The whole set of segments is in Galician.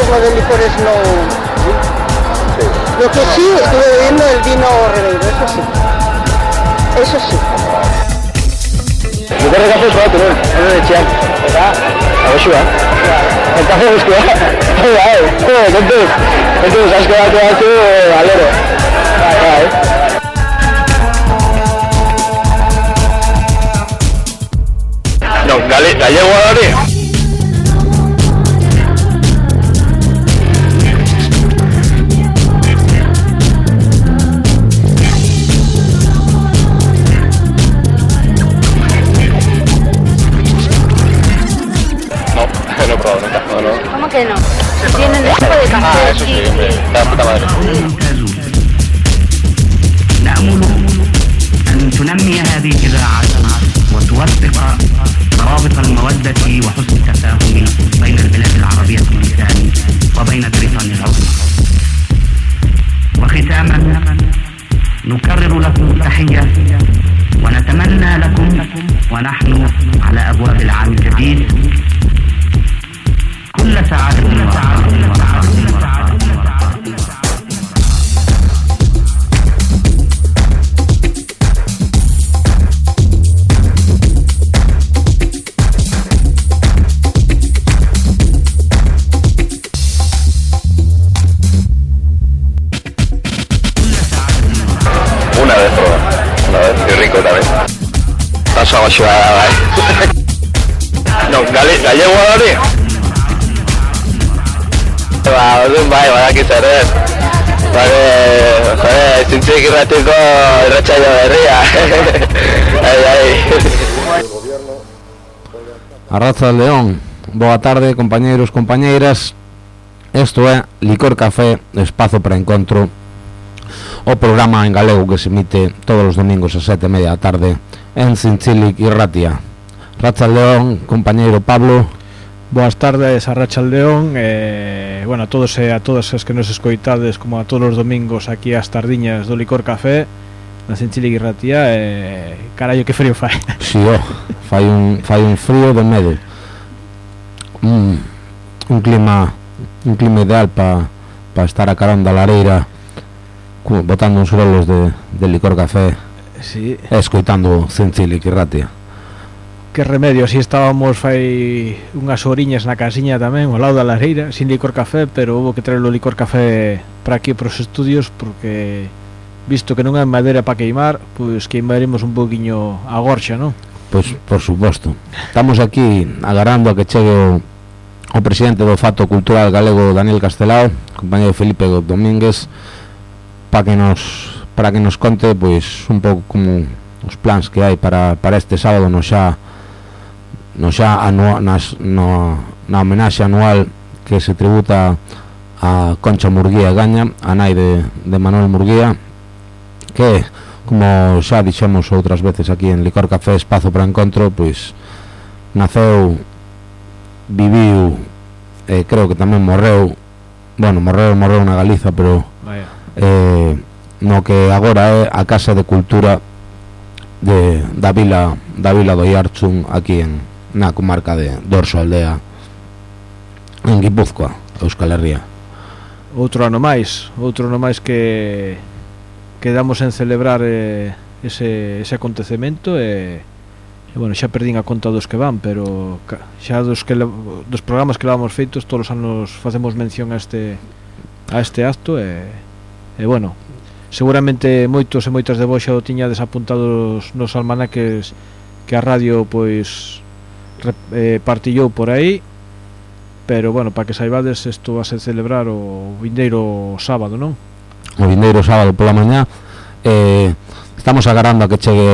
consumo de licores no... Lo que sí, estuve bebiendo el vino Rebeiro, eso sí. Eso sí. Licor de café probatu nuen, hori etxean. Eta, agosua. El café guztua. Kontuz, asko batu alero. No, gallego hori. No he probado nunca. No. ¿Cómo que no? Tienen esto de café. Ah, eso sí, hombre. La puta madre. نأمل أن تنمي هذه الإذاعات وتوثق روابط المودة وحسن التفاهم بين البلاد العربية والإسلام وبين بريطانيا العظمى. وختاما نكرر لكم التحية ونتمنى لكم ونحن على أبواب العام الجديد كل سعادة Una vez, y rico también. Paso a ciudad, No, gallego hori. Bai, badakit ere. Zintzik irratiko irratsaio berria. Arratsaldeon, boa tarde, compañeros, compañeiras. Esto é Licor Café, espazo para encontro. O programa en galego que se emite todos os domingos a 7:30 da tarde en Zintzilik Irratia. Arratsaldeon, compañeiro Pablo. Boas tardes, Arratsaldeon. Bueno, a todos e a todas as que nos escoitades, como a todos os domingos aquí ás tardiñas do Licor Café na Zintzilik Irratia. Carallo, que frío fai. Si, fai un frío de medo. Un clima ideal para estar a carón da lareira, botando uns rolos de Licor Café, sí, e escoitando Zintzilik Irratia. Que remedio, así estábamos fai unhas horiñas na casiña tamén, ao lado da lareira, sin Licor Café, pero houve que traer o Licor Café para aquí, para os estudios, porque visto que non hai madeira para queimar, pois queimaremos un poquinho a gorxa, non? Pois, por suposto. Estamos aquí agarrando a que chegue o presidente do Fato Cultural Galego, Daniel Castelao, compañero Felipe Domínguez, para que nos conte pois un pouco como os plans que hai para este sábado na homenaxe anual que se tributa a Concha Murguía Gaña, a nai de Manuel Murguía, que, como xa dixemos outras veces aquí en Licor Café, espazo para encontro, pois naceu, viviu, creo que tamén morreu na Galiza, pero no que agora é a Casa de Cultura da Vila do Iarchun, aquí na comarca de Dorso Aldea, en Guipúzcoa, Euskal Herria. Outro ano máis que damos en celebrar ese acontecemento, e bueno, xa perdín a conta dos que van, pero xa dos programas que levamos feitos, todos os anos facemos mención a este acto, e bueno, seguramente moitos e moitas de vos xa o tiñades apuntados nos almanaques que a radio pois partillou por aí, pero bueno, para que saibades, isto vai a celebrar o vindeiro sábado, non? O vindeiro sábado pola mañá. Estamos agarrando a que chegue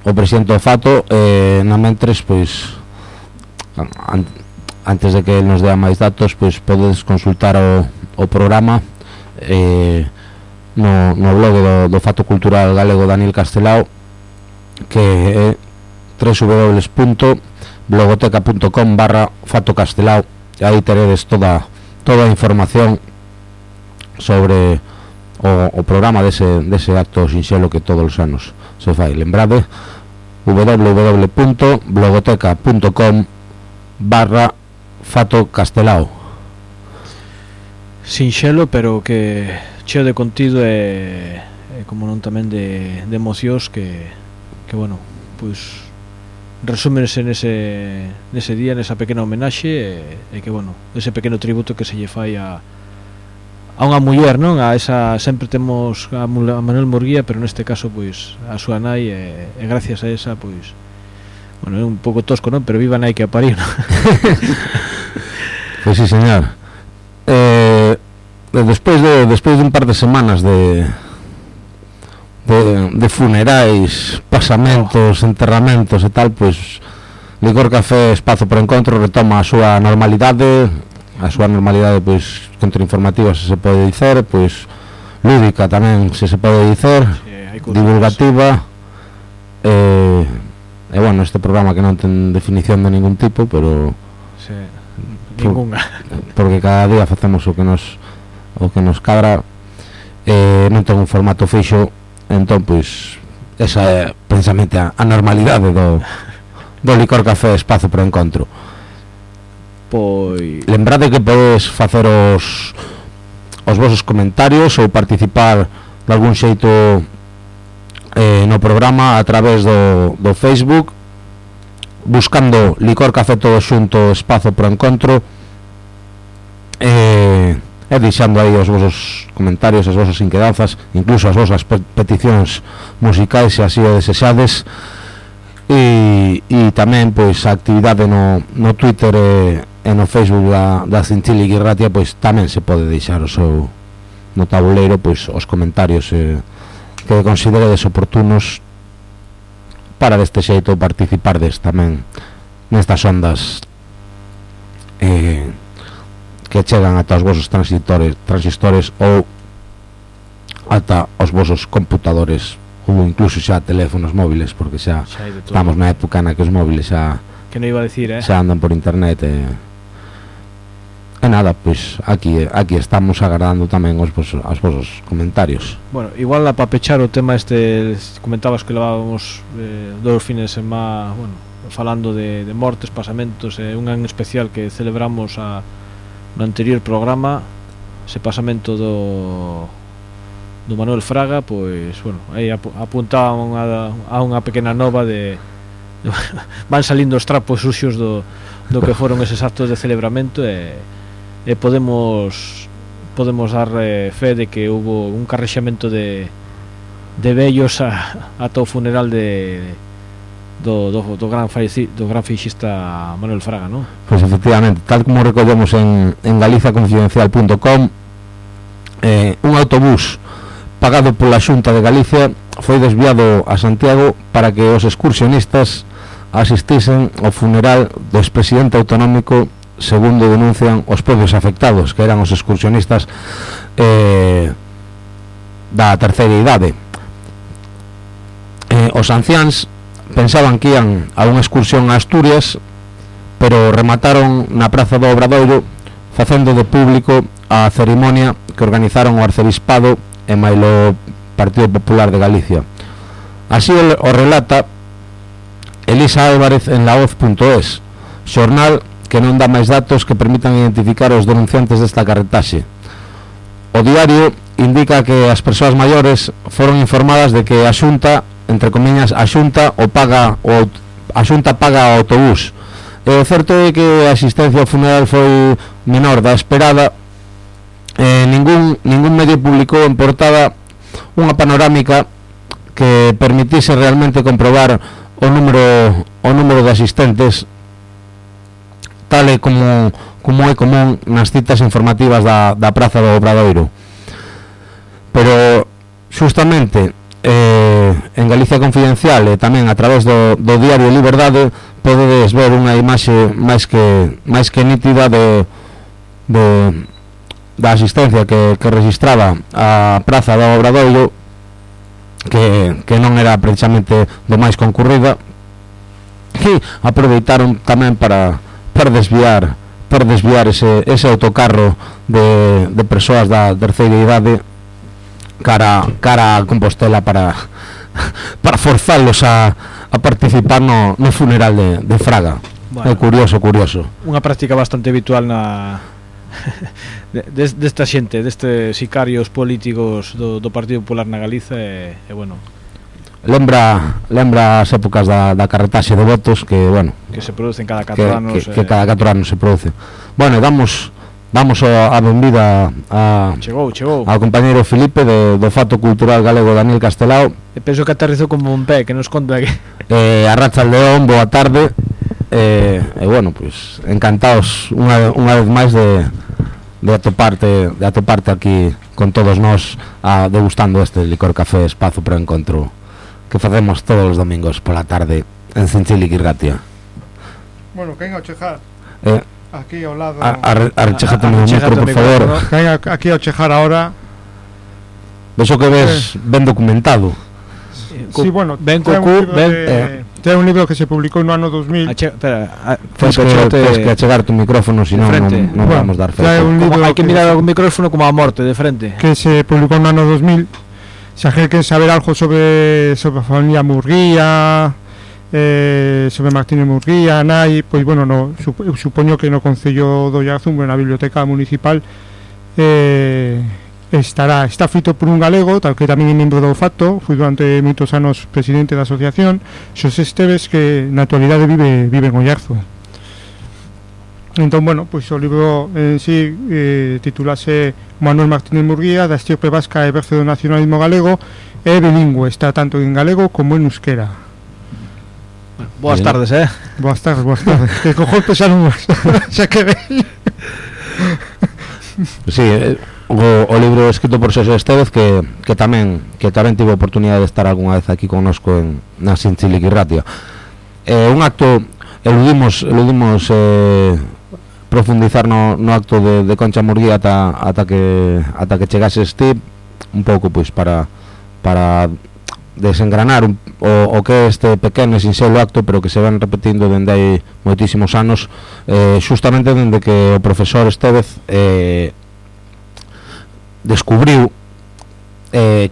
o presidente do Fato, na mentres, pois antes de que nos dea máis datos, pois podedes consultar o programa no blog do Fato Cultural Galego Daniel Castelao, que é www.blogoteca.com/Fato Castelao, e aí teredes toda a información sobre o programa dese acto sinxelo que todos os anos se fai. Lembrade, www.blogoteca.com/Fato Castelao. sinxelo, pero que cheo de contido e como non tamén de emocións que bueno, pois resúmense nese día, nesa pequena homenaxe e que bueno, ese pequeno tributo que se lle fai a unha muller, non? A esa, sempre temos a Manuel Murguía, pero neste caso pois a súa nai e gracias a esa pois bueno, é un pouco tosco, non? Pero viva a nai que a pariu, non? Pois sí, señor. Despois de un par de semanas de funerais, pasamentos, enterramentos e tal, pois Licor Café Espazo por Encontro retoma a súa normalidade, pois contrainformativa, se pode dicer, pois lúdica tamén, se pode dicer, divulgativa, e bueno, este programa que non ten definición de ningún tipo, pero ninguna, porque cada día facemos o que nos cadra, non ten un formato fixo, entón pois esa é precisamente a normalidade do Licor Café Espazo por Encontro. Pois lembrade que podes facer os vosos comentarios ou participar de algún xeito no programa a través do Facebook, buscando Licor Café todo xunto Espazo por Encontro, e deixando aí os vosos comentarios, as vosas inquedanzas, incluso as vosas peticións musicais, se así o desexades, e tamén pois a actividade no Twitter e no Facebook da Cinchili Guirratia, pois tamén se pode deixar o seu no tabuleiro pois os comentarios que consideredes oportunos para deste xeito participardes tamén nestas ondas que chegan ata os vosos transistores ou ata os vosos computadores ou incluso xa teléfonos móviles, porque xa estamos na época na que os móviles xa que non iba a decir, xa andan por internet e nada, pois aquí estamos agardando tamén os vosos comentarios. Bueno, igual para pechar o tema este, comentabas que levábamos 2 fines de semana, bueno, falando de mortes, pasamentos, un en especial que celebramos no anterior programa, ese pasamento do Manuel Fraga, pois, bueno, aí apuntaban a unha pequena nova de van salindo os trapos suxos do que foron eses actos de celebramento e podemos dar fe de que hubo un carrexamento de vellos ata o funeral do gran feixista Manuel Fraga, non? Pois efectivamente, tal como recollemos en galiciaconfidencial.com, un autobús pagado pola Xunta de Galicia foi desviado a Santiago para que os excursionistas asistisen ao funeral do expresidente autonómico, segundo denuncian os propios afectados, que eran os excursionistas da terceira idade. Os anciáns pensaban que ian a unha excursión a Asturias, pero remataron na Praza do Obradoiro facendo de público a cerimonia que organizaron o Arcebispado e mailo Partido Popular de Galicia. Así o relata Elisa Álvarez en laoz.es, xornal que non dá máis datos que permitan identificar os denunciantes desta carretaxe. O diario indica que as persoas maiores foron informadas de que a Xunta, entre comillas, a Xunta paga o autobús. E o certo é que a asistencia ao funeral foi menor da esperada. Ningún medio publicou en portada unha panorámica que permitise realmente comprobar o número de asistentes, tal e como é común nas citas informativas da Praza do Obradoiro. Pero justamente en Galicia Confidencial e tamén a través do diario Liberdade podedes ver unha imaxe máis que nítida da asistencia que registraba a Praza do Obradoiro, que non era precisamente do máis concurrida, que aproveitaron tamén para desviar ese autocarro de persoas da terceira idade cara a Compostela para forzalos a participar no funeral de Fraga. Bueno, é curioso. Unha práctica bastante habitual na desta xente, destes sicarios políticos do Partido Popular na Galiza e bueno, lembra as épocas da carretaxe de votos que, bueno, que se producen cada 4 anos que cada 4 anos se produce. Bueno, damos a benvida chegou ao compañeiro Filipe do Fato Cultural Galego Daniel Castelao. E penso que aterrizou como un pé, que nos conta que Arracha León, boa tarde. E bueno, pois encantados unha vez máis de atoparte aquí con todos nós degustando este licor café Espazo para o Encontro que facemos todos os domingos pola tarde en Cinchilic Irratia. Bueno, quen ao chejar aquí ao lado arrechejate o micro, por favor, ¿no? Quen aquí ao chejar ahora vexo que ves ben documentado. Sí, bueno, ben ten un libro que se publicou no ano 2000. Tens que achegar tu micrófono, senón non vamos dar fe. Hai que mirar o micrófono como a morte de frente. Que se publicou no ano 2000. Se alguén quere saber algo sobre a familia Murguía, sobre Martínez Murguía, nai, pois bueno, supoño que no Concello do Ollarzún, na biblioteca municipal, está feito por un galego, tal que tamén é membro do Fato, foi durante moitos anos presidente da asociación, Xosé Esteves, que na actualidade vive en Ollarzún. Entón, bueno, pois o libro en sí titulase Manuel Martínez Murguía, da estirpe vasca e berce do nacionalismo galego, é bilingüe, está tanto en galego como en euskera. Boas tardes, Boas tardes. Que cojón pesaron xa que ven. Sí, o libro escrito por Xosé Esteves que tamén tivo oportunidade de estar algunha vez aquí connosco na Cinchilic Irratia. Un acto eludimos profundizar no acto de Concha Murguía ata que chegases ti un pouco pois para desengranar o que é este pequeno e sinxelo acto, pero que se van repetindo dende hai moitísimos anos, justamente dende que o profesor Estevez descubriu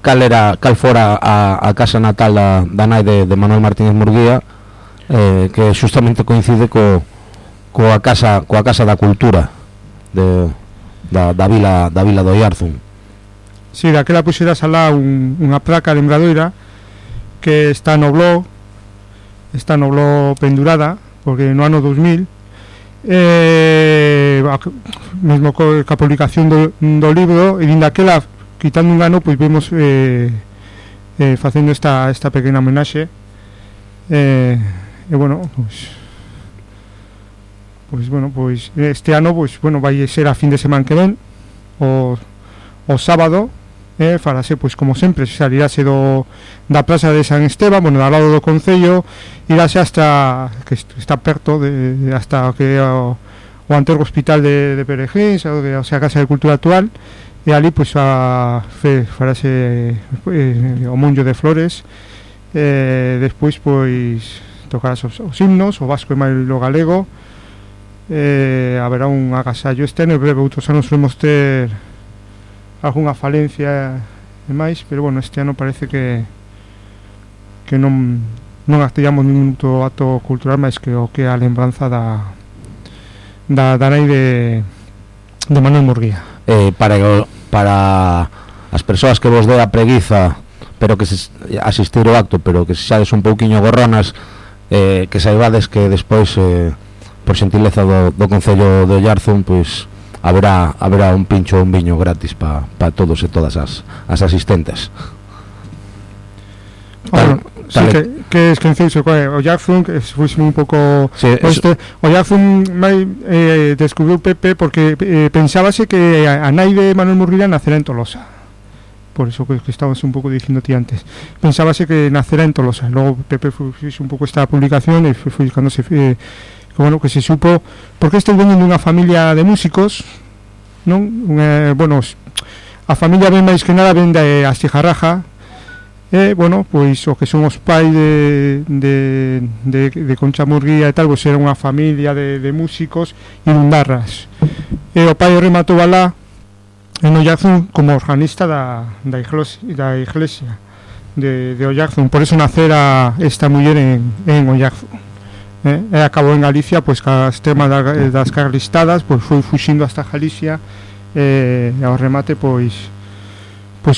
cal fora a casa natal da nai de Manuel Martínez Murguía, que justamente coincide coa casa da cultura da vila do Ollarzún. Si, daquela puxeras alá unha placa lembradoira que está no blog pendurada, porque no ano 2000 mesmo ca publicación do libro, e daquela, quitando un ano, pois vemos facendo esta pequena homenaxe, e bueno, pois este ano, pois bueno, vai ser a fin de semana que ven, o sábado, farase, pois como sempre, salirase da plaza de San Esteban, bueno, ao lado do Concello, irase hasta, que está perto hasta que o anterior hospital de Perejís, o sea, a Casa de Cultura actual, e ali, pois, farase o Monllo de Flores, despois, pois, tocarás os himnos, o vasco e máis o galego, haberá un agasallo externo, e breve, outros anos podemos ter algunha falencia e máis, pero bueno, este ano parece que non activamos ningún acto cultural máis que o que a lembranza da nai de Manuel Murguía. Para as persoas que vos dé a preguiza, pero que asistir ao acto, pero que se xades un pouquiño gorronas, que saibades que despois, por xentileza do Concello de Ollarzún, pois haberá un pincho ou un viño gratis para todos e todas as asistentes. Que esquenceuse o Ollarzún, que fuise un pouco o Ollarzún descubriu Pepe porque pensábase que a nai de Manuel Murguía nacera en Tolosa, por eso que estabas un pouco dicindo ti antes, pensábase que nacera en Tolosa, logo Pepe fixe un pouco esta publicación e foi cando se bueno, que se supo porque este veñen dunha familia de músicos, non? Bueno, a familia ben máis que nada ven de Astigarraja, bueno, pois o que son os pais de Concha Murguía e tal, pois era unha familia de músicos irundarras, e o pai rematou alá en Ollarzún como organista da iglesia de Ollarzún, por eso nacera esta muller en Ollarzún. E acabou en Galicia, pois cas temas das carlistadas, pois foi fuxindo hasta Galicia, e ao remate pois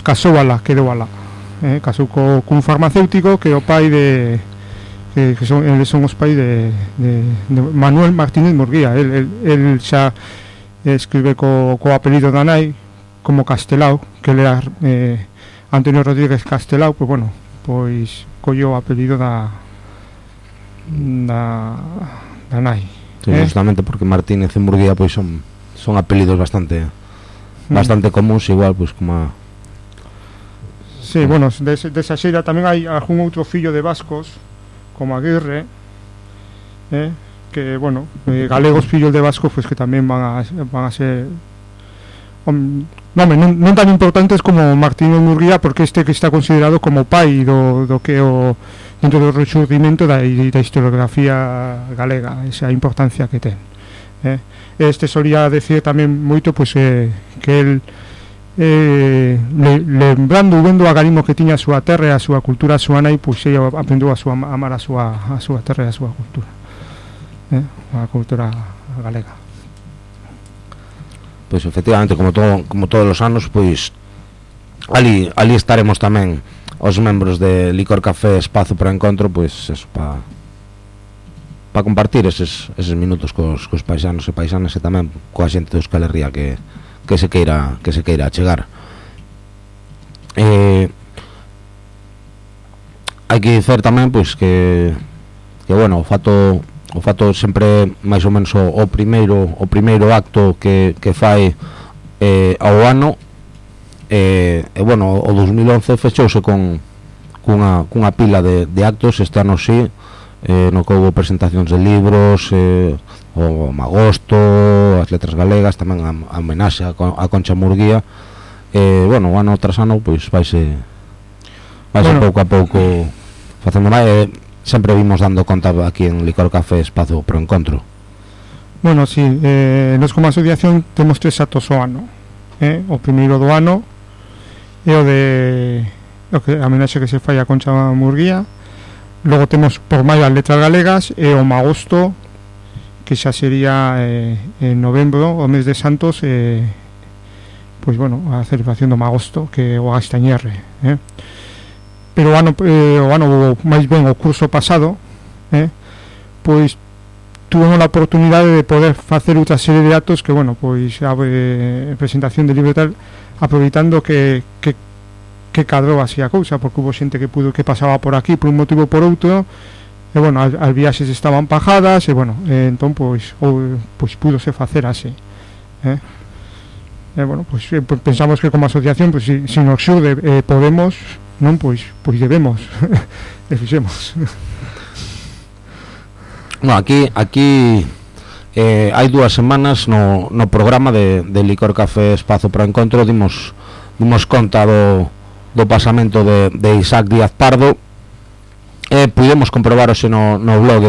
casou alá, quedou alá, casou cun farmacéutico que é o pai de que son os pais de Manuel Martínez Murguía. El xa escribe co apelido da nai como Castelao, que ele era Antonio Rodríguez Castelao, pois bueno, pois colleu o apelido da nai. Sí, justamente porque Martínez e Murguía pois son apelidos bastante comuns, igual pois como Sí, bueno, desa xeira tamén hai algún outro fillo de vascos como Aguirre, que, bueno, galegos fillos de vascos, pues que tamén van a ser non tan importantes como Martínez Murguía, porque este que está considerado como pai do que o dentro do rexurdimento da historiografía galega, esa importancia que ten. Este solía decir tamén moito pues, que el lembrando e vendo o agarimo que tiña a súa terra e a súa cultura, a súa nai, pois ella aprendeu a amar a súa terra e a súa cultura, a cultura galega. Pois efectivamente, como todos os anos, pois ali estaremos tamén os membros de Licor Café Espazo para Encontro, pois eso, para compartir eses minutos cos paisanos e paisanas e tamén coa xente de Euskal Herria que se queira chegar. Hai que dicer tamén pois que bueno, o fato sempre máis ou menos o primeiro acto que fai ao ano, bueno, o 2011 fechouse cunha pila de actos. Este ano sí, no que houve presentacións de libros, o Magosto, as letras galegas, tamén a homenaxe a Concha Murguía. Bueno, ano tras ano pois vaise pouco a pouco facendo máis. Sempre vimos dando conta aquí en Licor Café Espazo Pro Encontro. Bueno, sí, nos como asociación temos 3 actos ao ano, o primeiro do ano é o de a homenaxe que se fai a Concha Murguía. Logo temos por maio as letras galegas e o Magosto, que xa sería en novembro, o mes de Santos, pois bueno, a celebración do Magosto, que é o Gastañerre, pero o ano máis ben o curso pasado, pois tuvemos a oportunidade de poder facer outra serie de actos que, bueno, pois a presentación de libro e tal, aproveitando que cadrou así a cousa, porque hubo xente que pasaba por aquí por un motivo ou por outro, e bueno, as viaxes estaban pajadas, e bueno, entón pois púdose facer así, bueno, pois pensamos que como asociación, pois se nos xurde podemos, non, pois debemos e fixemos. No, aquí hai 2 semanas no programa de Licor Café Espazo para Encontro dimos conta do pasamento de Isaac Díaz Pardo. Pudemos comprobar hoxe no blog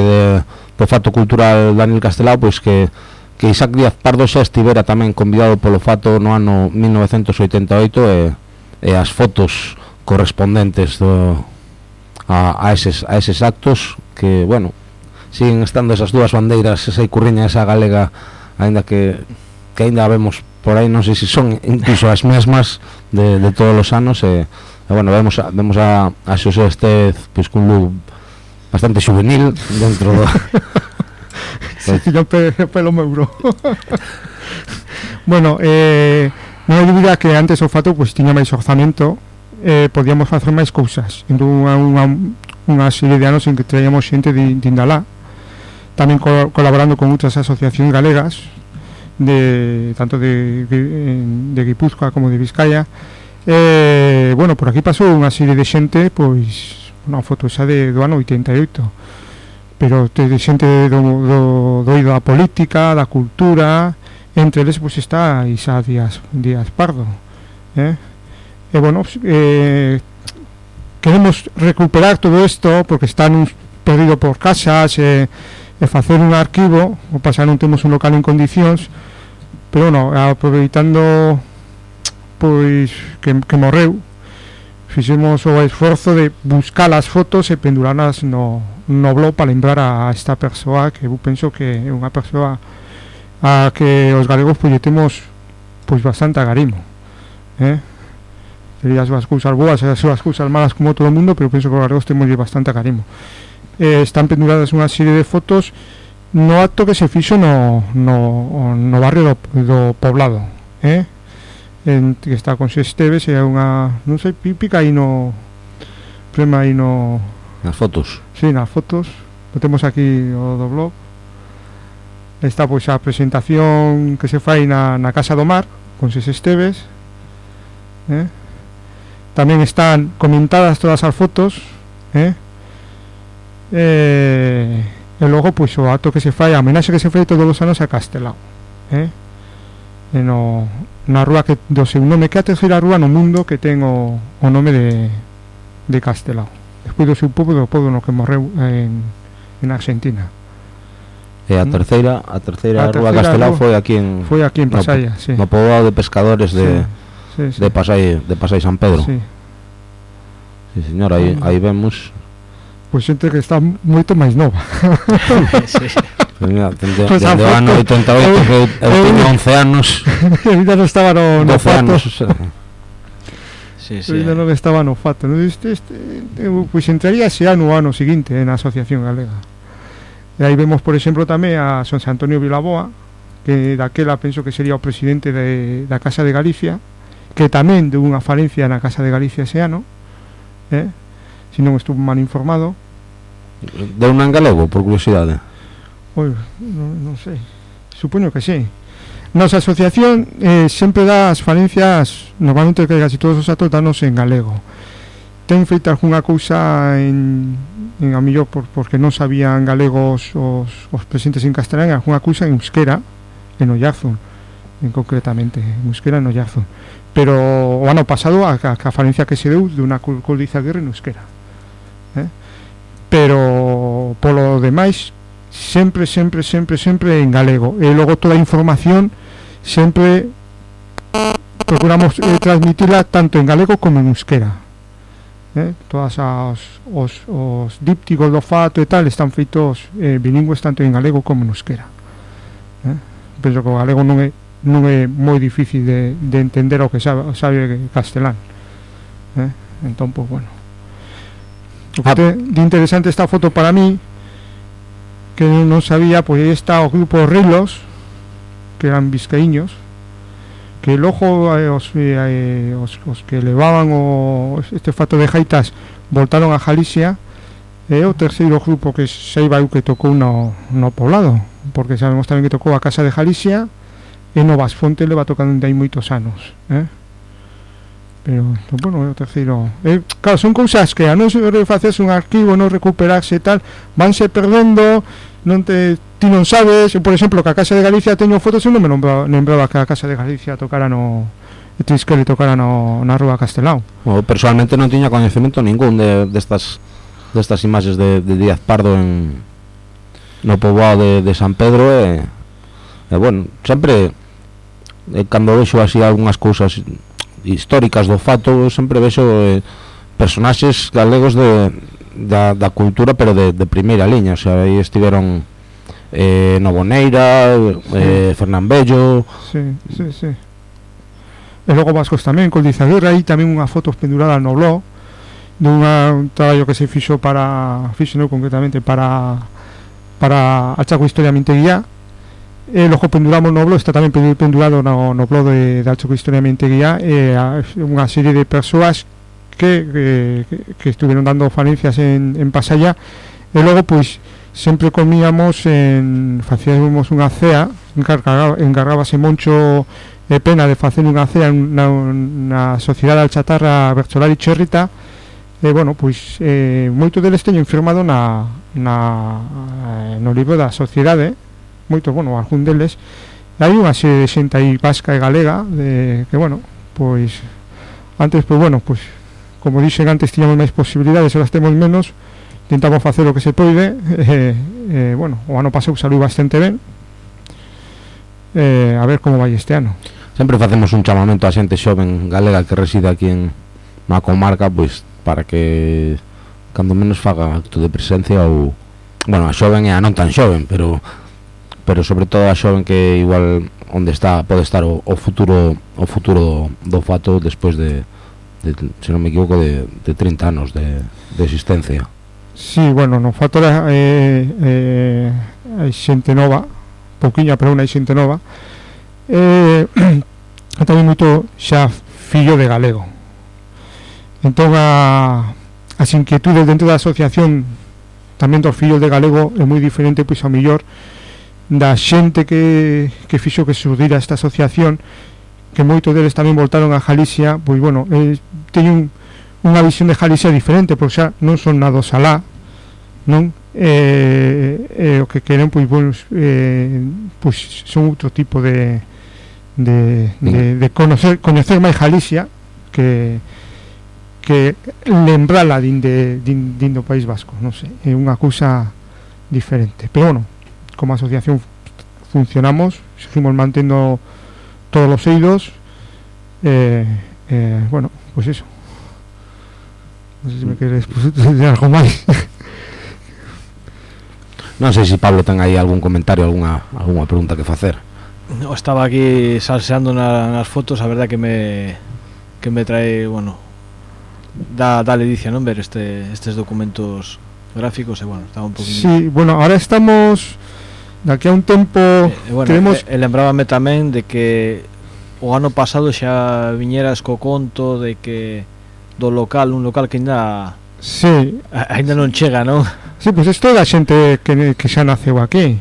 do Fato Cultural Daniel Castelao, pois que Isaac Díaz Pardo xa estivera tamén convidado polo Fato no ano 1988, e as fotos correspondentes a eses actos, que, bueno, siguen estando esas 2 bandeiras, esa icurriña, esa galega, aínda que aínda vemos por aí, non sei se son incluso as mesmas de todos os anos, e bueno, vemos a Xosé Estez pois cun look bastante juvenil dentro do yo pelo meuro. Bueno, non hai dúbida que antes o Fato pois tiña máis orzamento, podíamos facer máis cousas. Entón unha serie de anos en que traíamos xente de Indalá, tamén colaborando con outras asociacións galegas, tanto de Guipúzcoa como de Vizcaya. Bueno, por aquí pasou unha serie de xente, pois unha foto xa do ano 88, pero de xente do oído da política, da cultura. Entre eles pois está Isaac Díaz Pardo, e bueno, queremos recuperar todo isto porque están perdido por casas, e facer un arquivo. O pasar non temos un local en condicións, pero bueno, aproveitando pois que morreu, fixemos o esforzo de buscar as fotos e pendurarlas no blog para lembrar a esta persoa que eu penso que é unha persoa a que os galegos pois temos pois bastante agarimo, tería as súas cousas boas e as súas cousas malas como todo o mundo, pero penso que os galegos temos bastante agarimo. Están penduradas unha serie de fotos no acto que se fixo no barrio do Poblado, que está con Xe Esteves, e unha, non sei, pípica aí no prema aí no nas fotos. Sí, nas fotos. Lo temos aquí o do blog. Está pois a presentación que se fai na Casa do Mar con Xe Esteves, tamén están comentadas todas as fotos, e logo pois o acto que se fai, a homenaxe que se fai todos os anos a Castelao, na rúa que do seu nome, que é a terceira rúa no mundo que ten o nome de Castelao, despois do seu pobo, do pobo no que morreu en Argentina. E a terceira rúa Castelao foi aquí en Pasaya, sí. No poboado de pescadores de Pasai San Pedro. Sí. Sí, señor, aí vemos pois xente que está moito máis nova. Sí. Dende o ano 88 que eu teño 11 anos. Ainda non estaba no fato. Sí. Ainda non estaba no fato. Pois entraría ese ano o ano seguinte na Asociación Galega. E aí vemos, por exemplo, tamén a Son Antonio Vilaboa, que daquela penso que sería o presidente da Casa de Galicia, que tamén deu unha falencia na Casa de Galicia ese ano, se non estuvo mal informado. Deu unha en galego, por curiosidade? Non sei, supoño que sí. Nosa asociación sempre dá as falencias, normalmente que casi todos os actos danos en galego. Ten feita algunha cousa en a millor porque non sabían galegos os presentes en castelán, algunha cousa en euskera, en Ollarzun, concretamente, en euskera en Ollarzun. Pero o ano pasado a falencia que se deu de unha Coldiza Aguirre en euskera, pero polo demais sempre en galego, e logo toda a información sempre procuramos transmitila tanto en galego como en euskera, todas os dípticos do fato e tal están feitos bilingües tanto en galego como en euskera. Penso que o galego non é moi difícil de entender o que sabe castelán, entón, pois, bueno, o que de interesante esta foto para mí, que non sabía, pois aí está o grupo Rilos, que eran vizcaíños, que logo os que levaban este fato de jaitas voltaron a Galicia, e o terceiro grupo que saiba eu que tocou no Poblado, porque sabemos tamén que tocou a Casa de Galicia, e no Vasfonte leva tocando hai moitos anos, pero, bueno, é o terceiro. Claro, son cousas que a non se facerse un arquivo, non recuperarse e tal, vanse perdendo, ti non sabes. Por exemplo, que a Casa de Galicia teño fotos, eu non me lembraba que a Casa de Galicia tocara Triskel tocara na rúa Castelao. Personalmente non tiña coñecemento ningún destas imaxes de Díaz Pardo no poboado de San Pedro, e bueno, sempre cando vexo así algunhas cousas históricas do fato, sempre vexo personaxes galegos da cultura, pero de primeira liña. O sea, aí estiveron Novoneira, Fernán Bello. Sí. E logo vascos tamén, Coldiza Aguirre, aí tamén unha foto pendurada no blog dun traballo que se fixo concretamente para a Chaco Historia Minteguía. Logo penduramos no blog, está tamén pendurado no blog de Chaco Historia Minteguía, unha serie de persoas que estuvieron dando falencias en Pasaya, e logo pois sempre comíamos facíamos unha cea, encargábase Moncho e Pena de facer unha cea na Sociedade Alchatarra Bercholari Cherrita, e bueno, pois moito deles teñen firmado no libro da Sociedade, moito, bueno, algún deles. Hai unha serie de xente aí vasca e galega que, bueno, pois antes, pois, bueno, pois como dixen antes, tiñamos máis posibilidades, ahora temos menos, intentamos facer o que se pode, bueno, o ano pasado saliu bastante ben, a ver como vai este ano. Sempre facemos un chamamento a xente xoven galega que reside aquí na comarca, pois para que cando menos faga acto de presencia, ou bueno, a xoven e a non tan xoven, pero sobre todo a xoven que igual onde está pode estar o futuro do fato despois de se non me equivoco de 30 anos de existencia. Sí, bueno, no fato hai xente nova, pouquiña, pero hai xente nova, tamén moito xa fillo de galego. Entón as inquietudes dentro da asociación tamén dos fillos de galego é moi diferente, pois ao mellor da xente que fixo que surgira esta asociación, que moitos deles tamén voltaron a Galicia. Pois bueno, teñen unha visión de Galicia diferente, porque xa non son nados alá, non? O que queren, pois bueno, pois son outro tipo de coñecer máis Galicia que lembrala din do País Vasco, non sei, é unha cousa diferente. Pero bueno, como asociación funcionamos, seguimos mantendo todos os eidos, bueno, pues eso. Non sei se me queres decir algo máis. Non sei se Pablo ten aí algún comentario, algunha pregunta que facer. No, estaba aquí salseando nas fotos, a verdad que me trae, bueno, da ledicia, non, ver estes documentos gráficos, e bueno, estaba un poquinho. Sí, bueno, ahora estamos de aquí a un tempo, bueno, tenemos lembrábame tamén de que o ano pasado xa viñeras co conto de que un local que ainda non chega, non? Sí, pois isto é da xente que xa naceu aquí,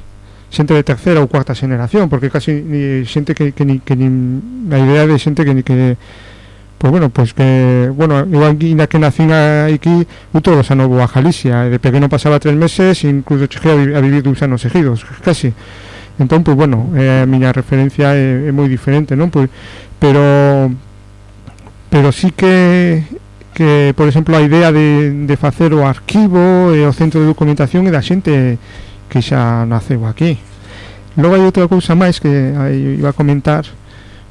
xente de terceira ou cuarta xeneración, porque casi xente que a idea de xente que pues bueno, pues que bueno, igual que nacín aquí, todos os anos vou a Galicia, de pequeno pasaba 3 meses, incluso cheguei a vivir 2 anos seguidos, casi. Entón, pues bueno, a miña referencia é moi diferente, non? Pues, pero sí que por exemplo a idea de facer o arquivo e o centro de documentación é da xente que xa naceu aquí. Logo hai outra cousa máis que iba a comentar,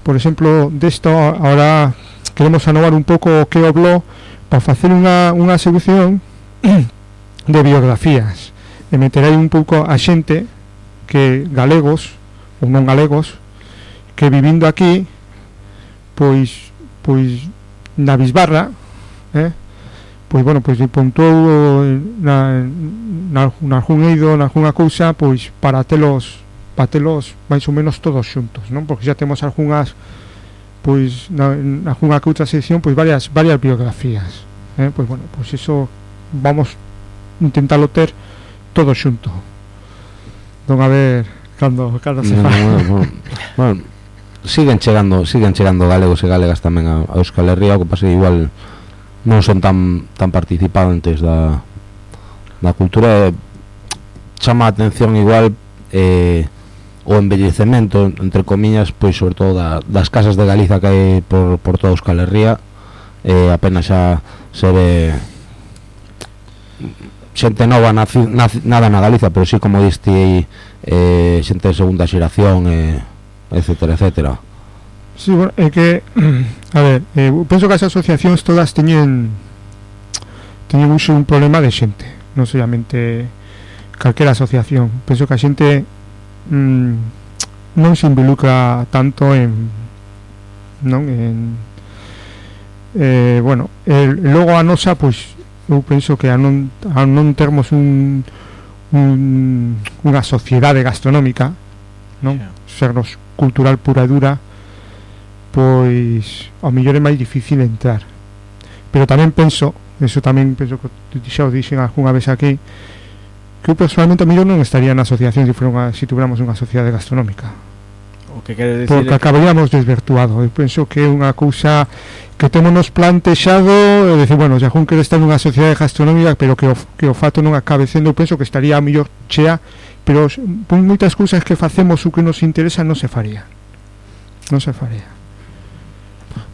por exemplo, desto ahora queremos anovar un pouco o que o blog para facer unha sección de biografías e meter aí un pouco a xente que galegos ou non galegos que vivindo aquí pois na bisbarra, pois bueno, pois puntou nalgún eido, nalgúna cousa, pois para telos máis ou menos todos xuntos, non? Porque xa temos algunhas, pois nalgúna que outra sección, pois varias biografías, pois bueno, pois eso vamos intentalo ter todo xunto. Non a ver cando se fa. Bueno, siguen chegando galegos e galegas tamén a Euskal Herria, o que pasa igual non son tan participantes da cultura. Chama a atención igual o embellecemento, entre comillas, pois sobre todo das casas de Galiza que hai por toda Euskal Herria. Apenas xa se ve xente nova nada na Galiza, pero sí, como diste, xente de segunda xeración, etcétera, etcétera. Sí, bueno, é que a ver, penso que as asociacións todas teñen un problema de xente, non solamente calquera asociación. Penso que a xente non se involucra tanto bueno, logo a nosa, pois eu penso que a non termos unha sociedade gastronómica, non? Sernos cultural pura e dura, pois ao mellor é máis difícil entrar. Pero tamén penso que xa o dixen algunha vez aquí, que eu personalmente a mellor non estaría na asociación se tuviéramos unha sociedade gastronómica. O que quere dicir porque acabaríamos desvirtuado. Eu penso que é unha cousa que temonos plantexado, é dicir, bueno, xa jun quere estar nunha sociedade gastronómica, pero que o fato non acabe sendo, eu penso que estaría a mellor chea, pero por moitas cousas que facemos o que nos interesa non se faría.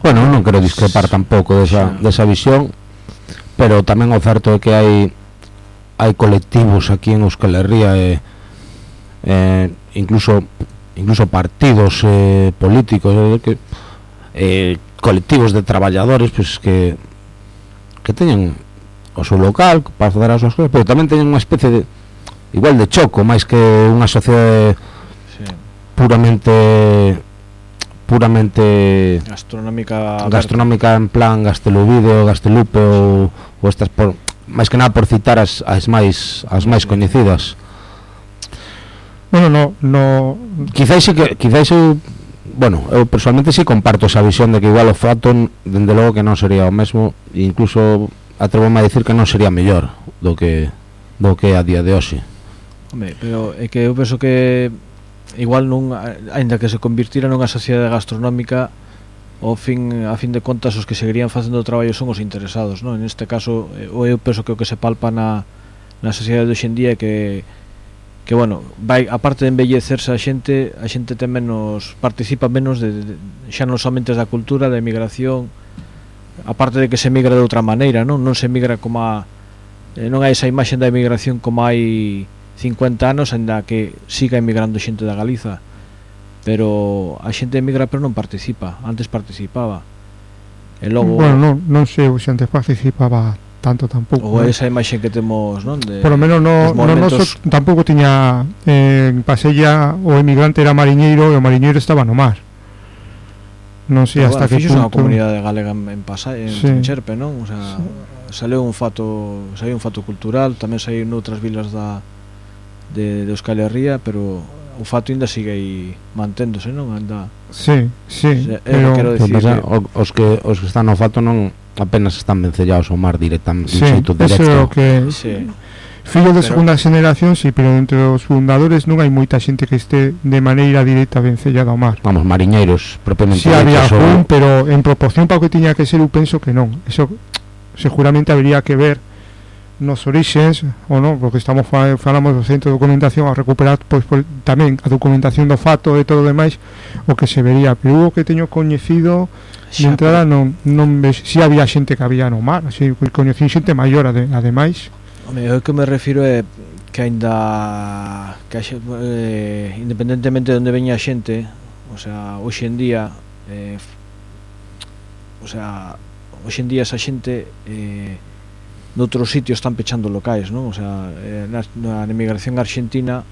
Bueno, non quero discrepar tampouco desa visión, pero tamén o certo é que hai colectivos aquí en Euskal Herria, incluso partidos políticos, colectivos de traballadores, pues que teñen o seu local para facer as súas cousas, pero tamén teñen unha especie de igual de choco, máis que unha sociedade puramente gastronómica en plan Gastelubido, Gastelupe ou estas máis que nada por citar as máis coñecidas. Bueno, no quizais eu, bueno, eu personalmente sí comparto esa visión de que igual o fato dende logo que non sería o mesmo, e incluso atrevo-me a dicir que non sería mellor do que a día de hoxe. Home, pero é que eu penso que igual non, aínda que se convirtiera nunha sociedade gastronómica, a fin de contas os que seguirían facendo o traballo son os interesados, non? En este caso, eu penso que o que se palpa na sociedade de hoxendía é que bueno, vai, aparte de embellecerse a xente ten menos, participa menos xa non somente da cultura, da emigración, aparte de que se emigra de outra maneira, non se emigra como non hai esa imaxe da emigración como hai 50 anos, ainda que siga emigrando xente da Galiza, pero a xente emigra pero non participa, antes participaba. E logo, bueno, non sei se antes participaba tanto tampouco. Ou esa imaxe que temos, non? Por lo menos tampouco tiña en Pasella o emigrante era mariñeiro e o mariñeiro estaba no mar. Non sei hasta que punto. Fixo unha comunidade galega en Pasalla, en Cherpe, non? O sea, saiu un fato cultural, tamén saiu noutras vilas de Euskal Herria, pero o fato ainda sigue aí manténdose, non? Anda. Sí, pero quero decir os que están no fato non apenas están vencellados ao mar directamente, directo. Eso que fillo de segunda generación, sí, pero entre os fundadores non hai moita xente que este de maneira directa vencellada ao mar. Vamos, mariñeiros propiamente. Sí, había algún, pero en proporción para o que tiña que ser, eu penso que non. Eso seguramente habría que ver nos orixes, ou non, porque falamos do centro de documentación a recuperar tamén a documentación do fato e todo o demais, o que se vería, pero o que teño coñecido de entrada non ves, si había xente que había no mar, así, coñecín xente maior ademais. O que me refiro é que aínda independentemente de onde veña a xente, o sea, hoxe en día esa xente noutros sitios están pechando locais, non? O sea, na emigración argentina,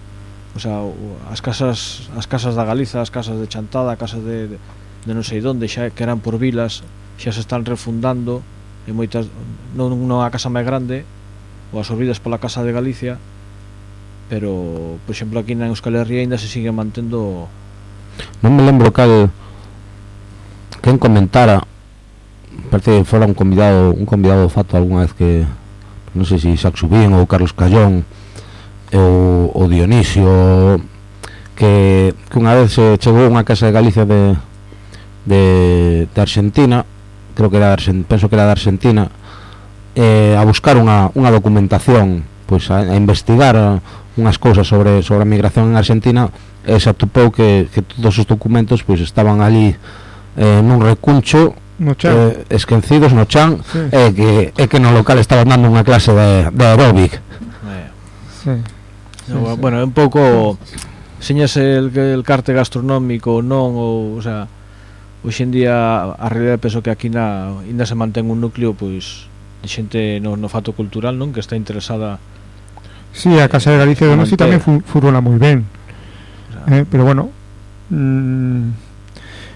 o sea, as casas da Galiza, as casas de Chantada, casas de non sei onde, xa que eran por vilas, xa se están refundando, e moitas non a casa máis grande ou absorbidas pola Casa de Galicia, pero, por exemplo, aquí na Euskal Herria ainda se sigue mantendo. Non me lembro quen comentara, parece que fora un convidado do fato algunha vez, que non sei se Isaac Subín ou Carlos Callón ou Dionisio, que unha vez se chegou a unha casa de Galicia de Argentina, penso que era de Argentina, a buscar unha documentación, pois a investigar unhas cousas sobre a migración en Argentina, e se atopou que todos os documentos pois estaban ali nun recuncho, esquecidos no chan, sí. e que no local estaban dando unha clase de aeróbic. Sí. No, bueno, é un pouco señase el carte gastronómico non, o sea, hoxe en día a realidade penso que aquí ainda se mantén un núcleo pois de xente no fato cultural, non, que está interesada. Sí, a Casa de Galicia de Nosi tamén funciona moi ben, o sea, pero bueno,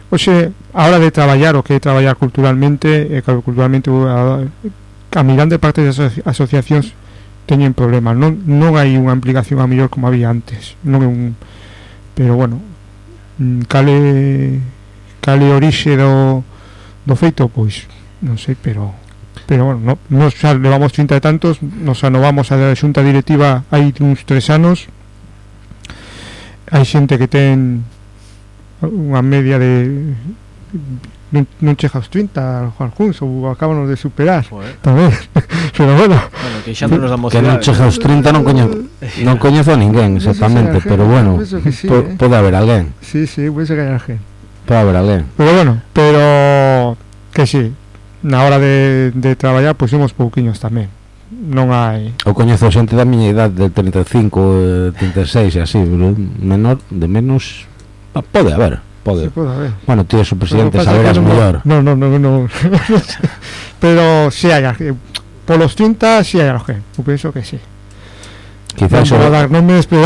hoxe, a hora de traballar o que é traballar culturalmente, a mirande parte das asociacións teñen problemas, non hai unha implicación a mellor como había antes, pero bueno, cale orixe do feito, pois non sei, pero bueno, nos xa levamos 30 e tantos, nos anovamos a xunta directiva hai uns 3 anos, hai xente que ten unha media de non chega aos 30 Juan Junts, ou acábanos de superar tamén, pero bueno, que xa non nos damos que non chega aos 30 non coñezo a ninguén exactamente, pero bueno, sí, pode haber alguén, sí, pode ser que hai alguén, pode haber alguén, pero bueno, que sí, na hora de traballar pois somos pouquiños tamén, non hai. Eu coñezo xente da miña idade de 35, 36 e así, menor, de menos pode haber. Sí, pode haber. Bueno, tío, su presidente saberás mellor. No. Pero si hai polos 30 si hai alguén, eu penso que sí. Quizás non vou dar nomes, pero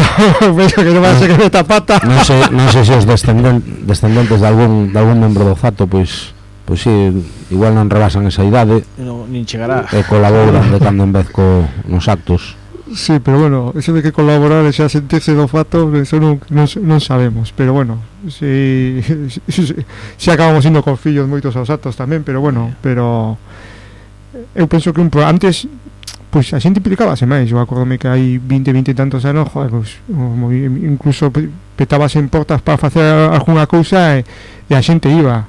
penso que non vai ser que meta pata. Non sei se os descendentes de algún membro do Fato pois sí, igual non rebasan esa idade, nin chegará, e colaboran de cando en vez nos actos. Sí, pero bueno, eso de que colaborar e xa sentirse do Fato, eso non sabemos, pero bueno, si acabamos indo con fillos moitos aos actos tamén, pero bueno, pero eu penso que antes pois a xente implicábase máis. Eu acordome que hai 20 e tantos anos, joder, pois, incluso petabas en portas para facer algunha cousa e a xente iba,